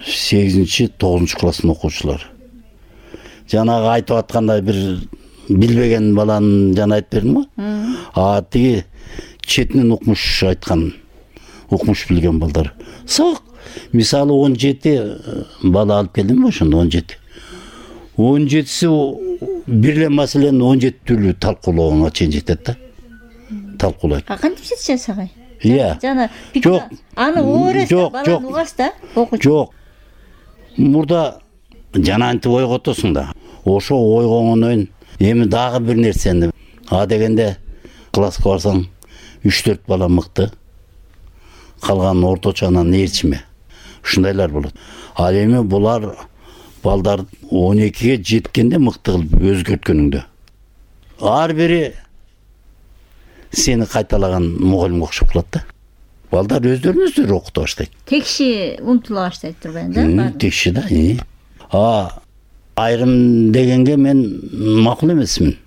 8-9 класстын окуучулары. Жанагы айтып атканда бир билбеген баланын жана айтып бердим го. Тиги четинен укмуш айткан, укмуш билген балдар. Сак, мисалы 17 бала алып келдим ошондо 17. 17си бир эле маселени 17 түрлүү талкуулоого чейин жетет да. Талкуулайт. Кантип жетишет сага? Жана жок. Аны ооресте баланы угасыз да, окуучу. Жок. Мурда жана антип ойготосуң да. Ошо ойгоңондон эми дагы бир нерсени дегенде класска барсаң 3-4 бала мыкты. Калган орточо анан ээрчиме. Ушундайлар болот. Ал эми булар балдар 12ге жеткенде мыкты кылып өзгөрткөнүңдө. Ар бири сени кайталаган мугалимге окшоп калат да. Балдар өздөрүн окута баштайт. Текши умтула баштайт турбайбы да? Текши да. Айрым дегенге мен макул эмесмин.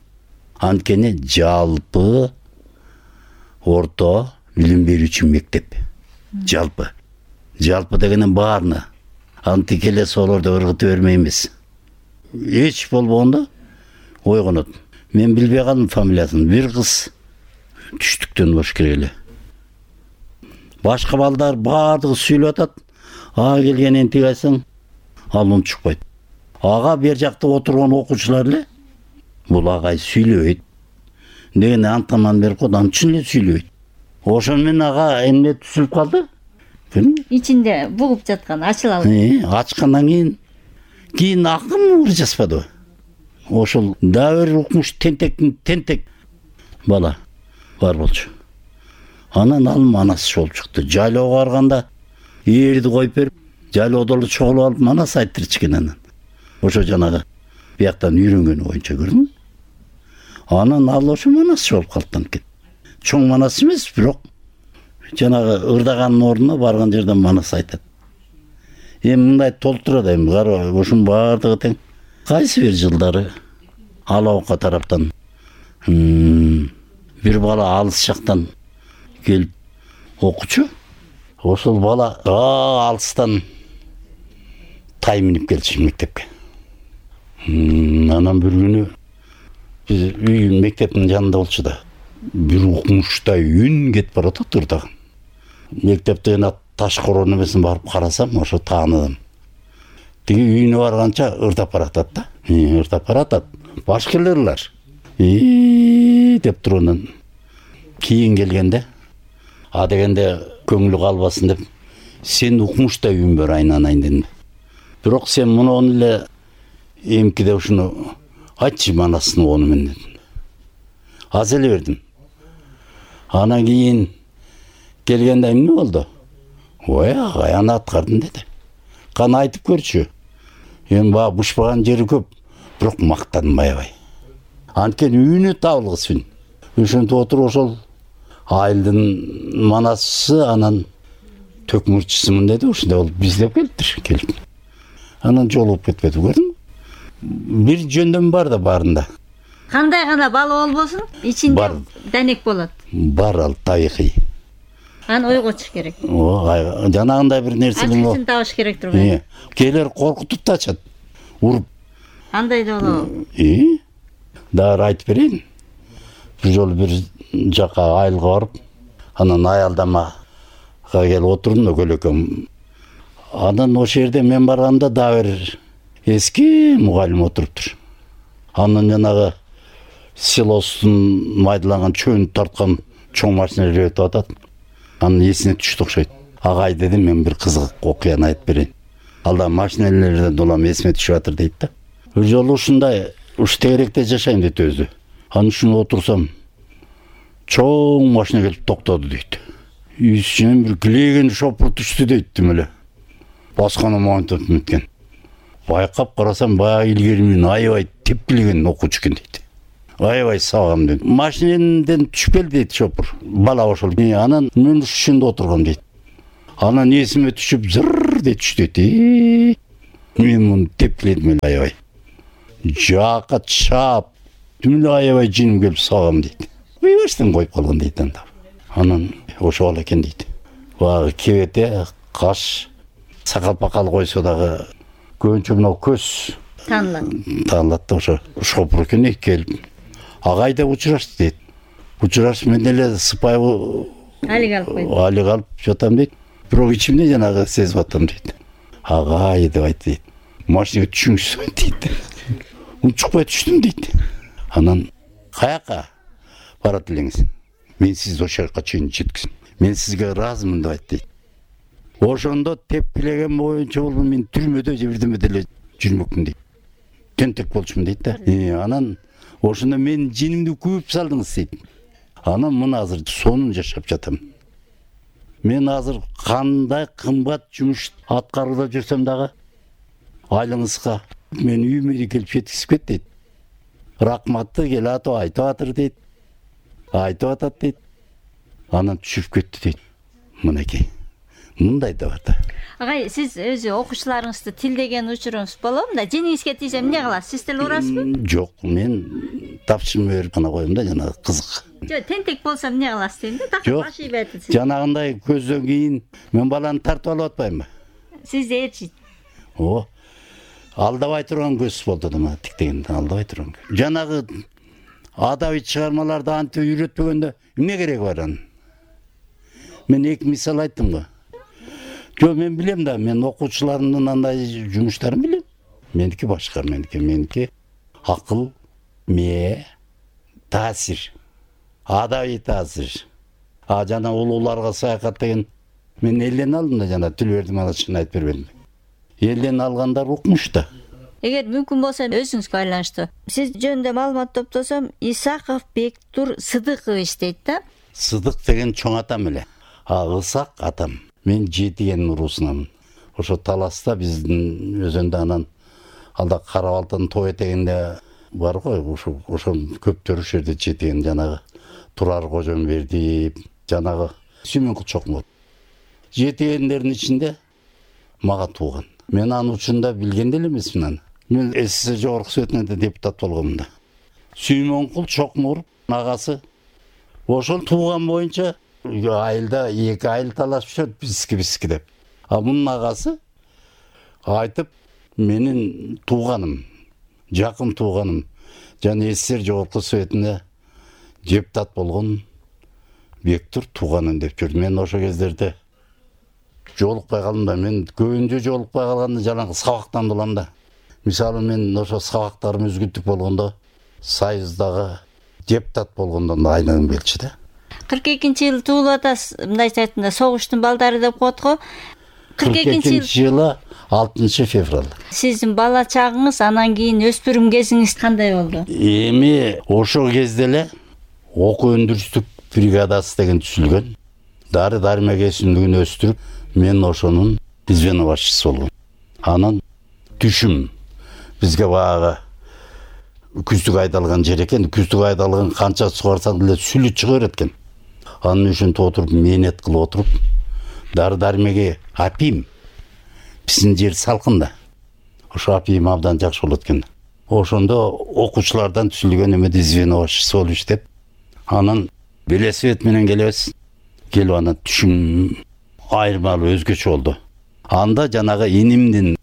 Анткени жалпы орто билим берүүчү мектеп. Жалпы дегенен баарына. Антикеле солорду ыргыта бермейбиз. Эч болбогондо ойгонот. Мен билбей калдым фамилиясын. Бир кыз түштүктөн болуш керек эле. Башка балдар баардыгы сүйлөп атат. Келгенен тигайсың, ал унчукпайт. Бер жакта отурган окуучулар эле бул агай сүйлөбөйт. Деген антаман берип койду, аны чын эле сүйлөбөйт. Ошон менен эмне түшүп калды? Ичинде бугуп жаткан ачыла алды. Ачкандан кийин акым жазбады. Ошол дагы укмуш тентек бала бар болчу. Анан ал манас болуп чыкты. Жайлоого барганда ээрди коюп берип, жайлоодо эле чогулуп алып манас айттырчыкен анан. Ошо жанагы бияктан үйрөнгөнү боюнча көрдүңбү? Анан ал ошо манас болуп калды. Чоң манас эмес, бирок жанагы ырдаганын ордуна барган жерден манас айтат. Мындай толтурат кара, ошонун баардыгы тең. Кайсы бир жылдары Алаука тараптан бир бала алыс жактан келип окучу. Ошол бала алыстан тай минип келчү мектепке. Анан бир күнү биз үй мектептин жанында болчу да. Бир укмуштай үн кетип баратат ырдаган. Мектептен таш корон эмесин барып карасам, ошо тааныдым. Тиги үйүнө барганча ырдап баратат да. Ырдап баратат. Башкаларлар деп тургандан кийин келгенде, дегенде көңүлү калбасын деп, сен укмуштай үн бер айнанайын дедим. Бирок сен муну эле эмкиде ушуну айтчы манасын ону мен дедим. Аз эле бердим. Анан кийин келгенде эмне болду? Агай аны аткардым деди. Кана айтып көрчү. Эми баа бушпаган жери көп, бирок мактадым аябай. Анткени үйүнө табылгысың. Ошентип отуруп ошол айылдын манасы анан төкмүрчүсүмүн деди. Ушундай болуп биздеп келиптир. Анан жолугуп кетпеди, көрдүңбү? Бир жөндөм бар да баарында. Кандай гана бала болбосун, ичинде денек болот. Бар ал табигый. Аны ойготуш керек. Жанагындай бир нерсе болот. Ачкычын табыш керек турбайбы? Келер коркутуп да ачат. Уруп. Андай да болобу? Дагы айтып берейин. Бир жолу бир жака айылга барып, анан аялдамага келип отурдум да көлөкөм. Анан ошол жерде мен барганда дагы бир эски мугалим отуруптур. Анан жанагы силостун майдаланган чөйүн тарткан чоң машиналар өтүп атат. Анын эсине түштү окшойт. Агай дедим, мен бир кызык окуяны айтып берейин. Алда машиналерден улам эсиме түшүп атыр дейт да. Бир жолу ушундай тегеректе жашайм дейт өзү. Анан ушуну отурсам, чоң машина келип токтоду дейт. үстүнөн бир килеген шопур түштү дейттим эле. Басканы монтоп мүткен. Байкап карасам баягы илгери менен аябай тепкилеген окуучу экен дейт. Аябай сабагам дейт. Машинеден түшпел дейт шопур. Бала ошол. Анан мен ушунда отургам дейт. Анан эсиме түшүп зыр деп түштү дейт. Мен муну тепкиледим эле аябай. Жака чап. Түмүлө аябай жиним келип сабагам дейт. Башtan коюп калган дейт анда. Анан ошол экен дейт. Баягы кебете, каш, сакал-пакал койсо дагы көбүнчө мына көз таанылат да ошо шопур экен келип. Агайда учурашты дейт. Учураш мен эле сыпайы алыг алып жатам дейт. Бирок ичимде жанагы сезип атам дейт. Агай деп айтты дейт. Машинага түшүңүз дейт. Унчукпай түштүм дейт. Анан каяка барат элеңиз? Мен сизди ошол жака чейин жеткизем. Мен сизге ыраазымын деп айтты дейт. Ошондо тепкилеген боюнча болду мен түрмөдө же бирдеме деле жүрмөкмүн дейт. Тентек болчумун дейт да. Анан ошондо мен жинимди күйүп салдыңыз дейт. Анан мына азыр сонун жашап жатам. Мен азыр кандай кымбат жумуш аткарууда жүрсөм дагы айлыңызга мен үйүмө келип жеткизип кет дейт. Рахматты келатып айтып атыр дейт. Айтып атат дейт. Анан түшүп кетти дейт. Мынакей. Мындай да бар да. Агай, сиз өзү окуучуларыңызды тилдеген учуруңуз болобу да? Жеңиңизге тийсем эмне кыласыз? Сиз тил урасызбы? Жок, мен тапшырма берип гана коем да, жана кызык. Жок, тентек болсо эмне кыласыз дейм да? Так башы ийбетип. Жанагындай көздөн кийин мен баланы тартып алып атпаймынбы? Сизди ээрчийт. О. Алдабай турган көз болду да, мына тиктегенде алдабай турган. Жанагы адабий чыгармаларды антип үйрөтпөгөндө эмне кереги бар анын? Мен эки мисал айттым го. Жок, мен билем да, мен окуучуларымдын андай жумуштарын билем. Меники башка, меники акыл, мээ, таасир, адабий таасир. Жана улууларга саякат деген мен элден алдым да, жана Түлбердим ана чын айтып бербедим. Элден алгандар укмуш да. Эгер мүмкүн болсо өзүңүзгө байланыштуу. Сиз жөнүндө маалымат топтосом, Исаков Бектур Сыдыкович дейт да. Сыдык деген чоң атам эле. Ысак атам. Мен жетиген уруусунамын. Ошо таласта биздин өзөндө анан алда Карабалтын той этегинде бар го, ошо көптөр ошол жерде жетиген жанагы Турар Кожомбердиев, жанагы Сүймөнкул Чокмор. Жетигендердин ичинде мага тууган. Мен анын учурунда билген деле эмесмин аны. Мен СССР жогорку советинде депутат болгомун да. Сүймөнкул Чокмор агасы ошол тууган боюнча айылда эки айыл талашып жүрөт биски деп. Мунун агасы айтып, менин тууганым, жакын тууганым, жана СССР жогорку советинде депутат болгон Бектур тууганым деп жүрдү. Мен ошо кездерде жолукпай калдым да, мен көбүнчө жолукпай калганда жанагы сабактан болом да. Мисалы мен ошо сабактарым үзгүлтүк болгондо, Союздагы депутат болгондо айнагым келчү да. 42-жылы туулуп атасыз, мындайча айтканда согуштун балдары деп коет го. 42-жылы 6 февраль. Сиздин бала чагыңыз, анан кийин өспүрүм кезиңиз кандай болду? Эми ошол кезде эле окуу өндүрүштүк бригадасы деген түзүлгөн. Дары-дармек өсүмдүгүн өстүрүп, мен ошонун звено башчысы болгом. Анан түшүм бизге баягы күздүк айдалган жер экен. Күздүк айдалган канча сугарсаң деле сүлү чыга берет экен. Анын үчүн отуруп, мээнет кылып отуруп, дары-дармеге апийм. Биздин жер салкын да. Ошо апийм абдан жакшы болот экен. Ошондо окуучулардан түзүлгөн эмеде звено башчысы болуп иштеп, анан велосипед менен келебиз. Келип анан түшүм айырмалуу өзгөчө болду. Анда жанагы инимдин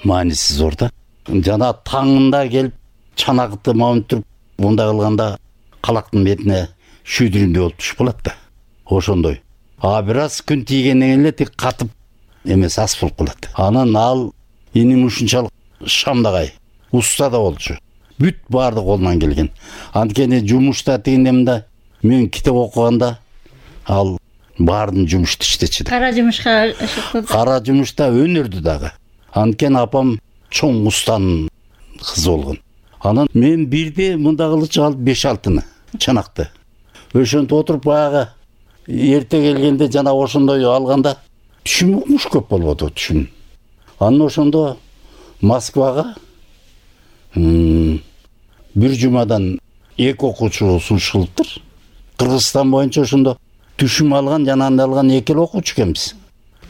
мааниси зор да. Жана таңында келип чанакты мауынтырып, мындай кылганда калактын бетине шүйдүрүндөй болуп түшүп калат да. Ошондой. Бир аз күн тийгенден кийин эле тик катып эмес ас болуп калат. Анан ал иним ушунчалык шамдагай, уста да болчу. Бүт баардык колунан келген. Анткени жумушта тигиндемде мен китеп окуганда ал баардын жумушту иштечи да. Кара жумушка Кара жумушта өнөрдү дагы. Анткени апам чоң устанын кызы болгон. Анан мен бирде мында кылычы алып 5-6-ны чанакты. Ошентип отуруп баягы эрте келгенде жана ошондой алганда түшүм укмуш көп болбоду түшүм. Анан ошондо Москвага бир жумадан 2 окуучу сунушталыптыр. Кыргызстан боюнча ошондо түшүм алган жана анда алган 2 окуучу экенбиз.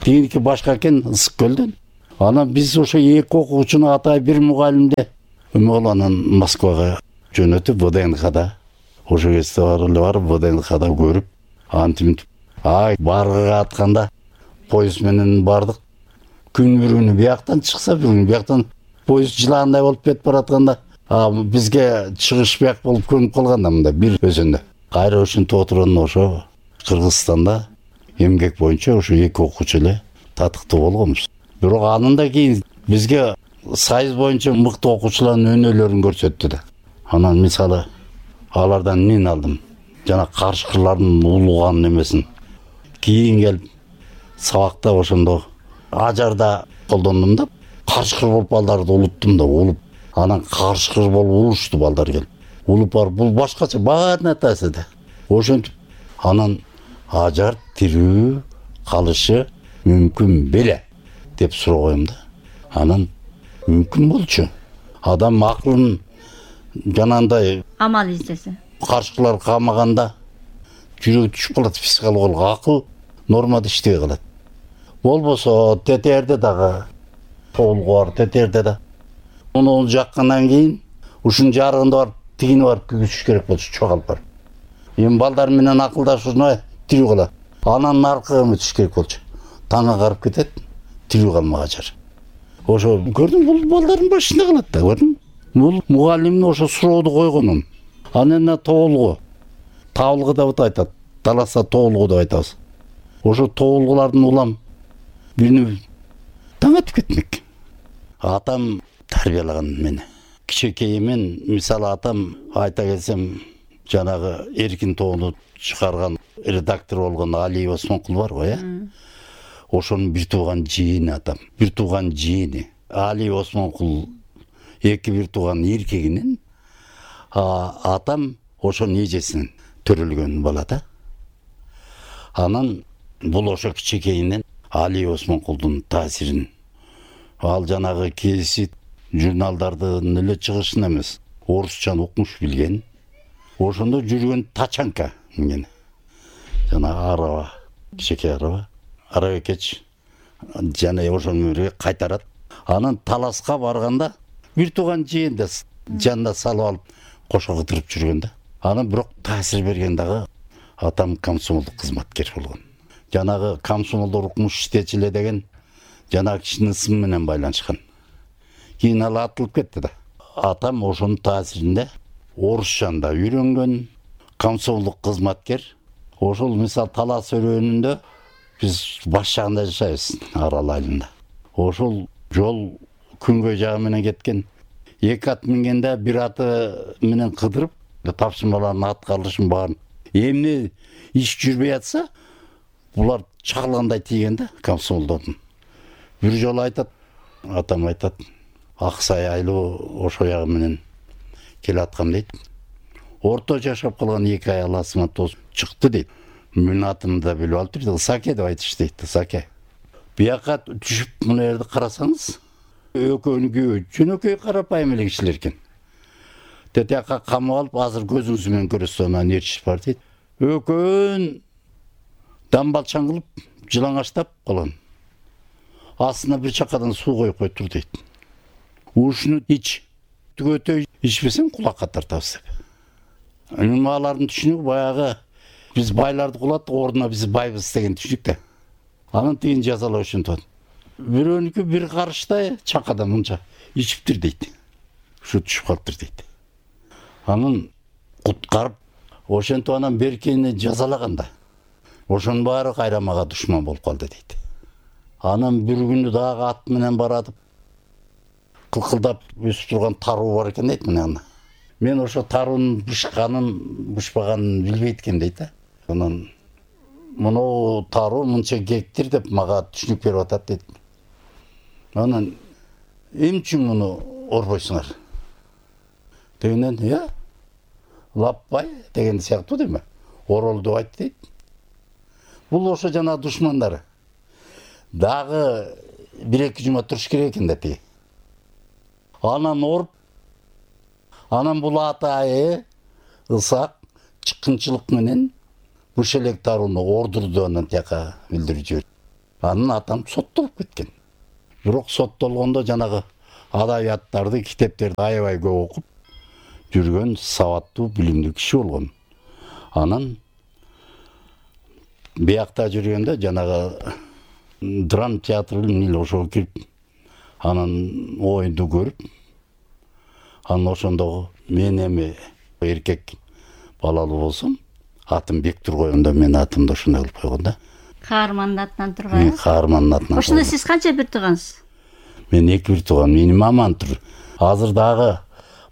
Тигиники башка экен, Ысык көлдөн. Анан биз ошо 2 окуучуну атай бир мугалимде анан Москвага жөнөтүп ВДНХда ошо кезде барып ВДНХда көрүп антиминтип баргыга атканда поезд менен бардык. Күн бүрүнү бияктан чыкса, бүгүн бияктан поезд жылаандай болуп кетип баратканда бизге чыгыш бияк болуп көнүп калганда мында бир өзөндө. Кайра ушинтип отурганда ошо Кыргызстанда эмгек боюнча ошо 2 окуучу эле татыктуу болгонбуз. Бирок анын да кийин бизге сайыз боюнча мыкты окуучулардын өнөөлөрүн көрсөттү да. Анан мисалы алардан эмнени алдым? Жана карышкырлардын улуган эмесин. Кийин келип сабакта ошондо ажарда колдондум да, карышкыр болуп балдарды улуттум да, улуп. Анан карышкыр болуп улушту балдар келип. Улуп барып бул башкача баарын атасы да. Ошентип анан ажар тирүү калышы мүмкүн беле деп сурагым да. Анан мүмкүн болчу. Адам акылын жанандай амал издесе. Карышкылар камаганда жүрөгү түшүп калат, психологиялык акыл нормада иштебей калат. Болбосо тетерде дагы тоолгу бар, тетерде да. Муну жаккандан кийин ушунун жарыгында барып тигине барып күгүзүш керек болчу, чогалып барып. Эми балдар менен акылдашууна тирүү калат. Анан наркыга өтүш керек болчу. Таңга карып кетет, тирүү калмагачар. Ошо көрдүм, бул балдардын башында калат да, көрдүм. Бул мугалимдин ошо сурооду койгонун. Анан тоолгу. Табылгы деп айтат. Таласа тоолгу деп айтабыз. Ошо тоолгулардын улам бирини таң атып кетмек. Атам тарбиялаган мени. Кичекейимен, мисалы атам айта келсем, жанагы Эркин тоону чыгарган редактор болгон Али Осмонкул бар го, ошонун бир тууган жийини атам. Бир тууган жийини. Али Осмонкул 2 бир тууган эркегинен атам ошонун эжесинен төрөлгөн бала да. Анан бул ошо кичекейинен Али Осмонкулдун таасирин ал жанагы кесит журналдардын эле чыгышын эмес, орусчаны укмуш билген. Ошондо жүргөн тачанка менен. Жана араба, кичекей араба. Арабекеч жана ошону кайтарат. Анан таласка барганда бир тууган жийин да жанына салып алып кошо кыдырып жүргөн да. Анан бирок таасир берген дагы атам комсомолдук кызматкер болгон. Жанагы комсомолдор укмуш иштечи эле деген жанагы кишинин ысымы менен байланышкан. Кийин ал атылып кетти да. Атам ошонун таасиринде орусчанда үйрөнгөн, комсомолдук кызматкер. Ошол мисал Талас өрөөнүндө биз баш жагында жашайбыз, Арал айылында. Ошол жол күнгөй жагы менен кеткен. 2 ат мингенде бир аты менен кыдырып, тапшырмалардын аткарылышын баарын. Эмне иш жүрбөй атса, булар чагылгандай тийген да комсомолдордун. Бир жолу айтат, атам айтат, Аксай айлуу ошо ягы менен келаткам дейт. Орто жашап калган 2 аял асыма тоз чыкты дейт. Менин атымды да билип алып дейт. Саке деп айтышты дейт, Саке. Бияка түшүп мына жерде карасаңыз, экөөнүкү жөнөкөй карапайым эле кишилер экен. Тетияка камап алып, азыр көзүңүз менен көрөсүз, анан ээрчиш бар дейт. Экөөн дамбалчаң кылып, жылаңаштап калган. Астына бир чакадан суу коюп койтур дейт. Ушуну ич. Түгөтөй ичпесең кулакка тартабыз деп. Эми алардын түшүнүгү баягы биз байларды кулаттык, ордуна биз байбыз деген түшүнүк да. Анан тигин жазалоо ушинтип. Бирөөнүкү бир карыштай чакадан мынча ичиптир дейт. Ушу түшүп калыптыр дейт. Анан куткарып, ошентип анан беркени жазалаганда, ошонун баары кайра мага душман болуп калды дейт. Анан бир күнү дагы ат менен баратып, кылкылдап өсүп турган таруу бар экен дейт мына. Мен ошо таруунун бышпаганын билбейт экен дейт. Анан муну таруу мынча гектар деп мага түшүнүк берип атат дейт. Анан эмне үчүн муну орбойсуңар? Дегенден, лаппай деген сыяктуу деме. Орол деп айт дейт. Бул ошо жана душмандар. Дагы 1-2 жума туруш керек экен да тиги. Анан оруп, анан бул атайы ысак чыккынчылык менен Бушелек тарууну ордурду анан тияка билдирип жиберди. Анын атам соттолуп кеткен. Бирок соттолгондо жанагы адабияттарды, китептерди аябай көп окуп жүргөн сабаттуу, билимдүү киши болгон. Анан биякта жүргөндө жанагы драм театры эле ошого кирип, анан оюнду көрүп, анан ошондогу мен эми эркек балалуу болсом, атым Бектур койгондо мен атымды ошондой кылып койгон да. Каармандын атынан турган. Каармандын атынан. Ошондо сиз канча бир туугансыз? Мен 2 бир тууган, менин мамам тур. Азыр дагы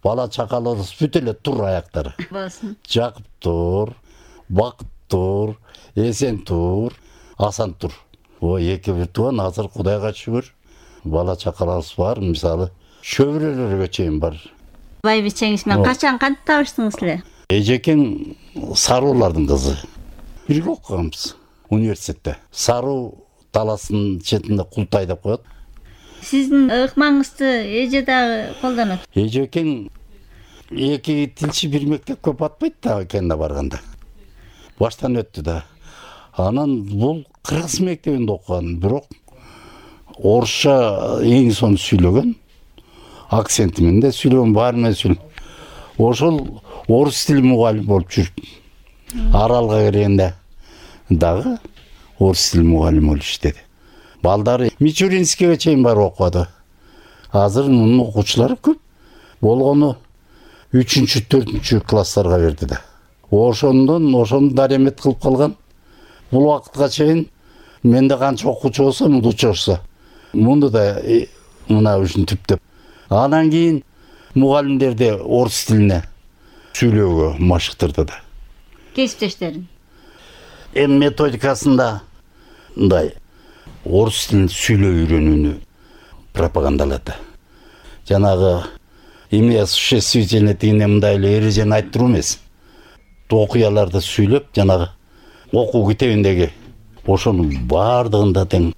бала чакаларыбыз бүт эле тур аяктары. Болсун. Жакып тур, Бакыт тур, Эсен тур, Асан тур. О 2 бир тууган, азыр Кудайга шүгүр бала чакаларыбыз бар, мисалы шөбүрөлөргө чейин бар. Байбичеңиз менен качан кантип табыштыңыз эле? Эжекең Саруулардын кызы. Бирге окуганбыз университетте. Саруу таластын четинде Култай деп коет. Сиздин ыкмаңызды эже дагы колдонот. Эжекең 2 тилчи бир мектепке батпайт да экенде барганда. Баштан өттү да. Анан бул кыргыз мектебинде окуган, бирок орусча эң сонун сүйлөгөн, акценти менен да сүйлөгөн, баары менен сүйлөгөн. Ошол орус тили мугалим болуп жүрүп, Аралга киргенде дагы орус тили мугалим болуп иштеди. Балдары Мичуринскийге чейин барып окуду. Азыр мунун окуучулары көп. Болгону 3-4 класстарга берди да. Ошону даремет кылып калган. Бул убакытка чейин менде канча окуучу болсо, мунду учурса. Мунду да мына ушинтип деп. Анан кийин мугалимдерди орус тилине сүйлөөгө машыктырды да. Кесиптештерин. Методикасында мындай орус тилин сүйлөп үйрөнүүнү пропагандалады. Жанагы эмне осуществительный дегенде мындай эле эрежени айттыруу эмес. Окуяларды сүйлөп, жанагы окуу китебиндеги ошонун баардыгында тең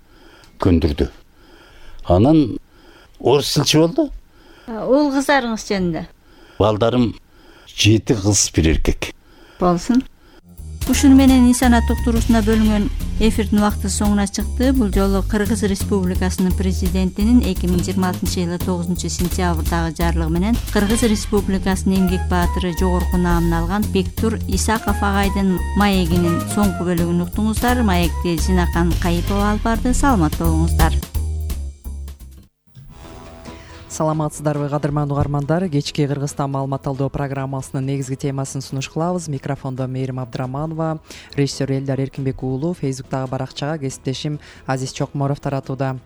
көндүрдү. Анан орус тилчи болду. Уул кыздарыңыз жөнүндө? Балдарым 7 кыз, 1 эркек. Болсун. Ушуну менен инсанат уктуруусуна бөлүнгөн эфирдин убакыты соңуна чыкты. Бул жолу Кыргыз Республикасынын президентинин 2026-жылы 9-сентябрдагы жарлыгы менен Кыргыз Республикасынын эмгек баатыры жогорку наамын алган Бектур Исаков агайдын маегинин соңку бөлүгүн уктуңуздар. Маекти Зинакан Кайыпова алып барды. Саламаттуу болуңуздар. Саламатсыздарбы кадырман угармандар. Кечки Кыргызстан маалымат алуу программасынын негизги темасын сунуш кылабыз. Микрофондо Мээрим Абдыраманова, режиссер Элдар Эркинбек уулу, Фейсбуктагы баракчага кесиптешим Азиз Чокморов таратууда.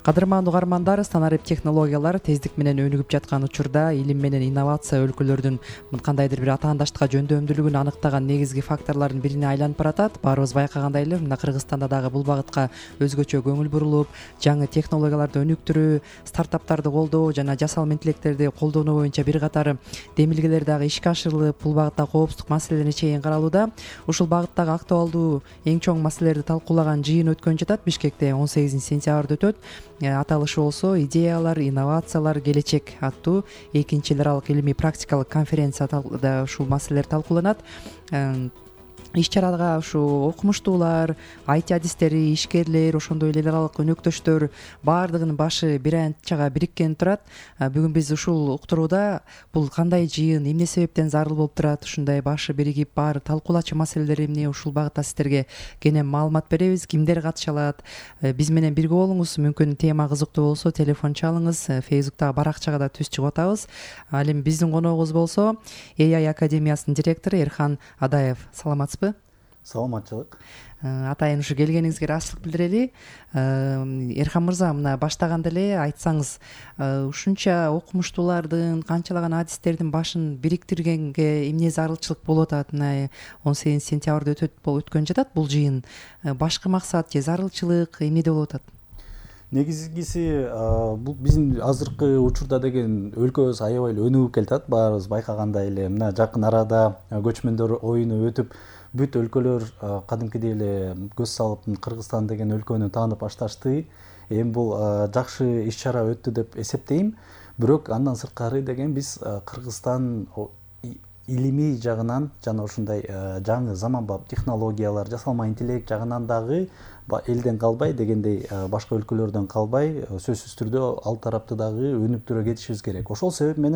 Кадырман угармандар, станарип технологиялар тездик менен өнүгүп жаткан учурда илим менен инновация өлкөлөрдүн кандайдыр бир атаандаштыкка жөндөмдүүлүгүн аныктаган негизги факторлордун бирине айланып баратат. Баарыбыз байкагандай эле мына Кыргызстанда дагы бул багытка өзгөчө көңүл бурулуп, жаңы технологияларды өнүктүрүү, стартаптарды колдоо жана жасалма интеллекттерди колдонуу боюнча бир катар демилгелер дагы ишке ашырылып, бул багытта коопсуздук маселелерине чейин каралууда. Ушул багыттагы актуалдуу эң чоң маселелерди талкуулаган жыйын өткөн жатат. Бишкекте 18-сентябрда өтөт. Аталышы болсо идеялар, инновациялар, келечек аттуу 2-эл аралык илимий практикалык конференцияда ушул маселелер талкууланат. Иш-чарага ушу окумуштуулар, IT адистери, ишкерлер, ошондой эле эл аралык өнөктөштөр баардыгынын башы бир анчага бириккен турат. Бүгүн биз ушул уктурууда бул кандай жыйын, эмне себептен зарыл болуп турат, ушундай башы биригип баары талкуулачу маселелер эмне, ушул багытта сиздерге кенен маалымат беребиз. Кимдер катыша алат? Биз менен бирге болуңуз. Мүмкүн тема кызыктуу болсо телефон чалыңыз. Фейсбуктагы баракчага да түз чыгып атабыз. Ал эми биздин коногубуз болсо AI Академиясынын директору Эрхан Адаев. Саламатсызбы? Саламатчылык. Атайын ушу келгениңизге ыраазычылык билдирели. Эрхан мырза, мына баштаганда эле айтсаңыз, ушунча окумуштуулардын, канчалаган адистердин башын бириктиргенге эмне зарылчылык болуп атат? Мына 18-сентябрда өткөн жатат бул жыйын. Башкы максат же зарылчылык эмнеде болуп атат? Негизгиси бул биздин азыркы учурда деген өлкөбүз аябай эле өнүгүп келатат. Баарыбыз байкагандай эле мына жакын арада көчмөндөр оюну өтүп, бүт өлкөлөр кадимкидей эле көз салып Кыргызстан деген өлкөнү таанып башташты. Эми бул жакшы иш чара өттү деп эсептейм. Бирок андан сырткары деген биз Кыргызстан илимий жагынан жана ушундай жаңы заманбап технологиялар, жасалма интеллект жагынан дагы элден калбай дегендей башка өлкөлөрдөн калбай сөзсүз түрдө ал тарапты дагы өнүктүрө кетишибиз керек. Ошол себеп менен